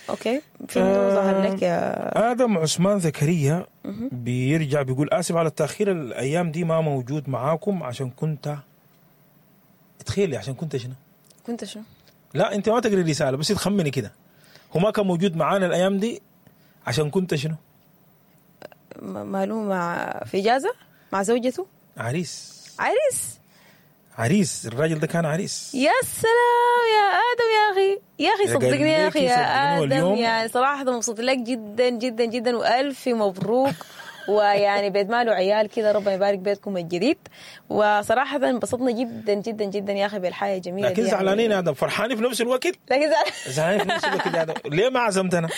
okay، في ظهر لك يا ادم عثمان زكريا بيرجع بيقول اسف على التاخير، الايام دي ما موجود معاكم عشان كنت، تخيلي عشان كنت شنو؟ كنت شنو؟ لا انت ما تقري الرسالة بس تخمني كده، هو ما كان موجود معانا الايام دي عشان كنت شنو؟ ماله مع في اجازه مع زوجته؟ عريس. عريس؟ عريس، الراجل ده كان عريس. يا سلام يا آدم يا أخي، يا أخي صدقني يا أخي يا آدم، يعني صراحة مبسوط لك جدا جدا جدا، وألف مبروك. ويعني بيت ماله عيال كده، ربنا يبارك بيتكم الجديد. وصراحة انبسطنا جدا جدا جدا يا أخي بالحياة الجميلة. لكن زعلانين يا آدم، فرحانين في نفس الوقت، لكن زعلانين في نفس الوقت يا آدم، ليه ما عزمتنا؟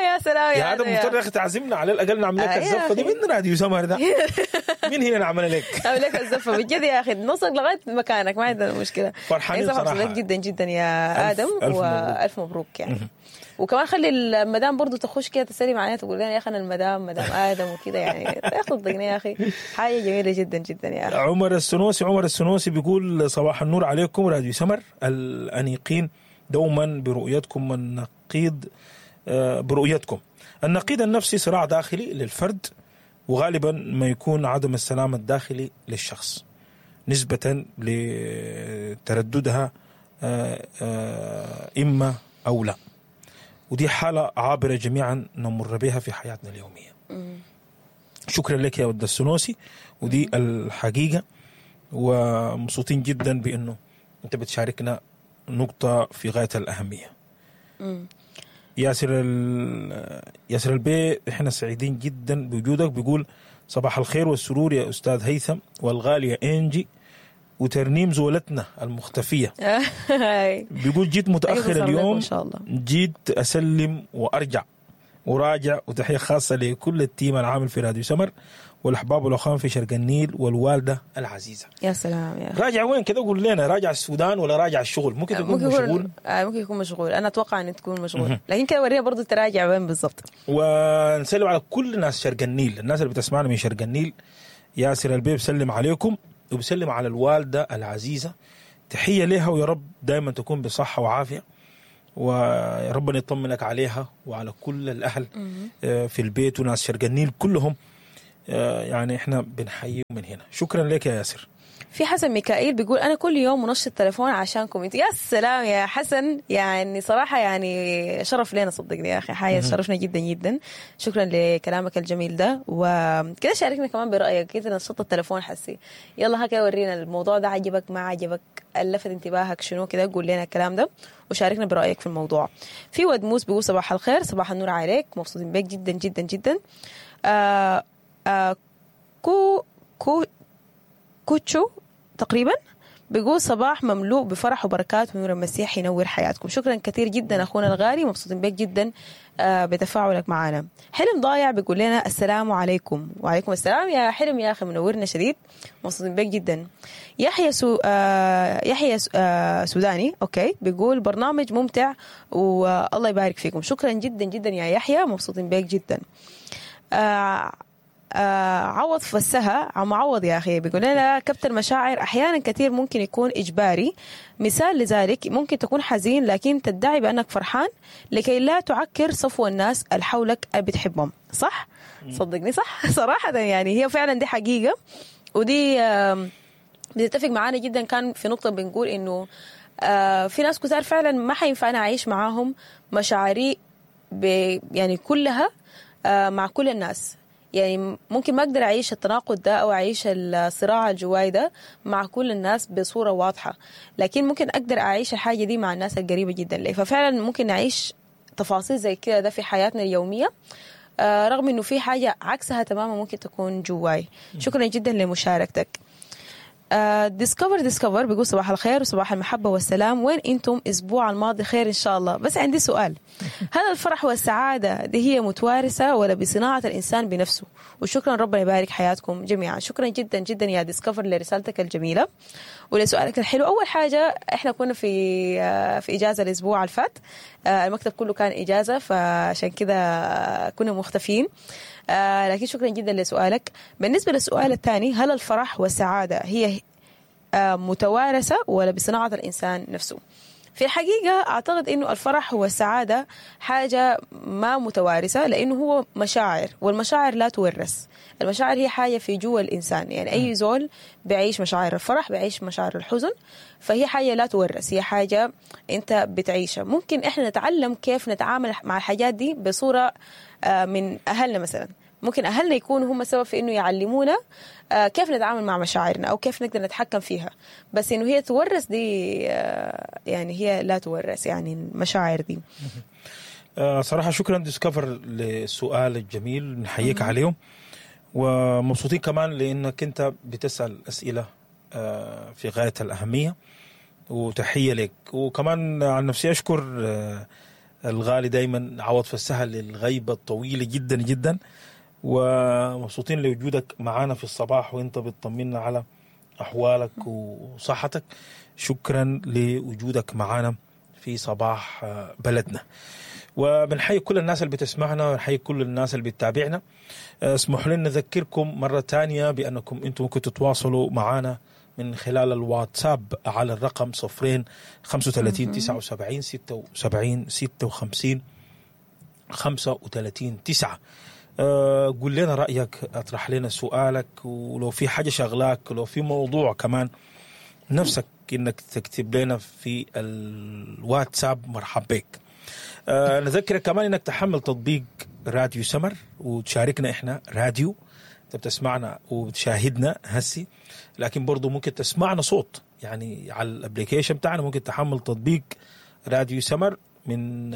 يا سلام يا آدم، مضطر يا أخي تعزمنا على الأقل نعمل لك الزفة دي من راديو سمر ده، من هنا نعمل لك نعمل لك الزفة بجد يا أخي، نوصل لغاية مكانك ما عندنا مشكلة. فرحانين صراحة جدا جدا يا آدم، وألف مبروك يعني. وكمان خلي المدام برضو تخش كده تسلم علينا، تقول لنا يا اخي انا المدام مدام ادم وكده يعني، صدقني يا اخي حاجة جميلة جدا جدا يا اخي. عمر السنوسي بيقول صباح النور عليكم راديو سمر الانيقين، دوما برؤيتكم النقيض، برؤيتكم النقيض النفسي صراع داخلي للفرد، وغالبا ما يكون عدم السلام الداخلي للشخص نسبة لترددها إما أو لا، ودي حالة عابرة جميعا نمر بها في حياتنا اليومية. شكرا لك يا ود السنوسي، ودي الحقيقة، ومبسوطين جدا بأنه أنت بتشاركنا نقطة في غاية الأهمية. ياسر البي، احنا سعيدين جدا بوجودك. بيقول صباح الخير والسرور يا أستاذ هيثم والغالية إنجي وترنيم زولتنا المختفية. بيقول جيت متأخر اليوم، إن شاء الله. جيت أسلم وأرجع. وراجع، وتحية خاصة لكل ال team العامل في راديو سمر والاحباب والاخوان في شرق النيل والوالدة العزيزة. يا سلام يا أخي. راجع وين كده؟ قول لنا، راجع السودان ولا راجع الشغل؟ ممكن تكون ممكن مشغول. يكون ممكن يكون مشغول، انا اتوقع ان تكون مشغول، لكن كده ورينا برضه تراجع وين بالضبط. ونسلم على كل ناس شرق النيل، الناس اللي بتسمعنا من شرق النيل. ياسر البيب بسلم عليكم وبسلم على الوالدة العزيزة، تحية لها ويا رب دائما تكون بصحة وعافيه، ويا ربنا يطمنك عليها وعلى كل الاهل في البيت وناس شرق النيل كلهم. يعني احنا بنحييهم من هنا. شكرا لك يا ياسر. في حسن ميكائيل بيقول انا كل يوم منشط تليفون عشانكم انتوا. يا سلام يا حسن، يعني صراحة يعني شرف لنا صدقني يا اخي، حاجة شرفنا جدا جدا. شكرا لكلامك الجميل ده، وكده شاركنا كمان برايك كده. نشط التليفون حسي، يلا هكذا ورينا الموضوع ده عجبك ما عجبك، لفت انتباهك شنو كده، قول لنا الكلام ده وشاركنا برايك في الموضوع. في ود موس بيقول صباح الخير، صباح النور عليك، مبسوطين بك جدا جدا جدا. آه آه كو كو كوتشو تقريبا بيقول صباح مملوء بفرح وبركات ونور المسيح ينور حياتكم. شكرا كثير جدا اخونا الغالي، مبسوطين بك جدا بتفاعلك معنا. حلم ضايع بيقول لنا السلام عليكم. وعليكم السلام يا حلم يا اخي، منورنا شديد، مبسوطين بك جدا. يحيى سو يحيى سوداني okay بيقول برنامج ممتع والله يبارك فيكم. شكرا جدا جدا يا يحيى، مبسوطين بك جدا. عوض فسها عم عوض يا أخي بيقول لنا كبت المشاعر أحيانا كثير ممكن يكون إجباري، مثال لذلك ممكن تكون حزين لكن تدعي بأنك فرحان لكي لا تعكر صفو الناس اللي حولك اللي بتحبهم. صح؟ صدقني صح. صراحة يعني هي فعلا دي حقيقة، ودي بتتفق معانا جدا. كان في نقطة بنقول إنه في ناس كتار فعلا ما حينفع أنا أعيش معاهم مشاعري يعني كلها مع كل الناس، يعني ممكن ما أقدر أعيش التناقض ده أو أعيش الصراع الجواي ده مع كل الناس بصورة واضحة، لكن ممكن أقدر أعيش الحاجة دي مع الناس القريبة جدا لي. ففعلا ممكن نعيش تفاصيل زي كده ده في حياتنا اليومية، رغم إنه في حاجة عكسها تماما ممكن تكون جواي. شكرا جدا لمشاركتك. ديسكفر بيقول صباح الخير وصباح المحبة والسلام، وين انتم اسبوع الماضي؟ خير ان شاء الله. بس عندي سؤال، هل الفرح والسعادة دي هي متوارثة ولا بصناعة الإنسان بنفسه؟ وشكرا، ربنا يبارك حياتكم جميعا. شكرا جدا جدا يا ديسكفر لرسالتك الجميلة ولسؤالك الحلو. أول حاجة احنا كنا في إجازة الأسبوع اللي فات، المكتب كله كان إجازة، فعشان كده كنا مختفين، لكن شكرا جدا لسؤالك. بالنسبة للسؤال الثاني، هل الفرح والسعادة هي متوارثة ولا بصناعة الإنسان نفسه؟ في الحقيقة أعتقد أنه الفرح والسعادة حاجة ما متوارثة، لأنه هو مشاعر، والمشاعر لا تورث. المشاعر هي حاجة في جوا الإنسان، يعني أي زول بيعيش مشاعر الفرح، بيعيش مشاعر الحزن، فهي حاجة لا تورث، هي حاجة أنت بتعيشها. ممكن إحنا نتعلم كيف نتعامل مع الحاجات دي بصورة من أهلنا مثلا، ممكن أهلنا يكونوا هم السبب في إنه يعلمونا كيف نتعامل مع مشاعرنا أو كيف نقدر نتحكم فيها، بس إنه هي تورث دي يعني هي لا تورث، يعني المشاعر دي. صراحة شكرا ديسكفر للسؤال الجميل، نحييك عليهم، ومبسوطين كمان لأنك أنت بتسأل أسئلة في غاية الأهمية، وتحية لك. وكمان عن نفسي أشكر الغالي دايما عوض فسها للغيبة الطويلة جدا جدا، ومبسوطين لوجودك معانا في الصباح وانت بتطمنا على أحوالك وصحتك. شكرا لوجودك معانا في صباح بلدنا. وبنحيي كل الناس اللي بتسمعنا، ونحيي كل الناس اللي بتتابعنا. اسمحوا لنا نذكركم مرة تانية بأنكم انتم ممكن تتواصلوا معانا من خلال الواتساب على الرقم 0 35 79 76 56 35 9. قول لنا رأيك، اطرح لنا سؤالك، ولو في حاجة شغلاك، ولو في موضوع كمان نفسك انك تكتب لنا في الواتساب، مرحب بك. نذكرك كمان انك تحمل تطبيق راديو سمر وتشاركنا احنا راديو، انت بتسمعنا وبتشاهدنا هسي، لكن برضو ممكن تسمعنا صوت يعني على ال application بتاعنا. ممكن تحمل تطبيق راديو سمر من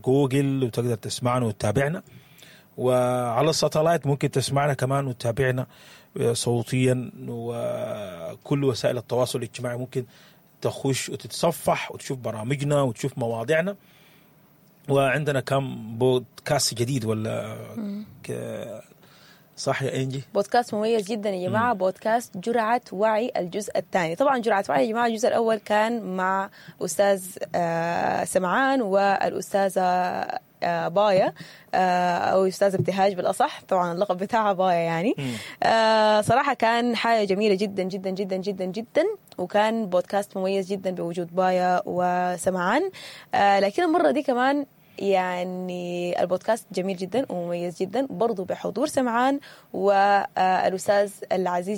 جوجل وتقدر تسمعنا وتتابعنا، وعلى ال satellite ممكن تسمعنا كمان وتتابعنا صوتيا، وكل وسائل التواصل الاجتماعي ممكن تخش وتتصفح وتشوف برامجنا وتشوف مواضيعنا وعندنا كم بودكاست جديد ولا صح يا انجي؟ بودكاست مميز جدا يا جماعة، بودكاست جرعة وعي الجزء الثاني. طبعا جرعة وعي يا جماعة الجزء الاول كان مع استاذ سمعان والاستاذه بايا، او استاذه ابتهاج بالاصح، طبعا اللقب بتاعها بايا يعني. صراحة كان حاجة جميلة جدا جدا جدا جدا جدا، وكان بودكاست مميز جدا بوجود بايا وسمعان. لكن المرة دي كمان يعني البودكاست جميل جدا ومميز جدا برضو بحضور سمعان والأستاذ العزيز.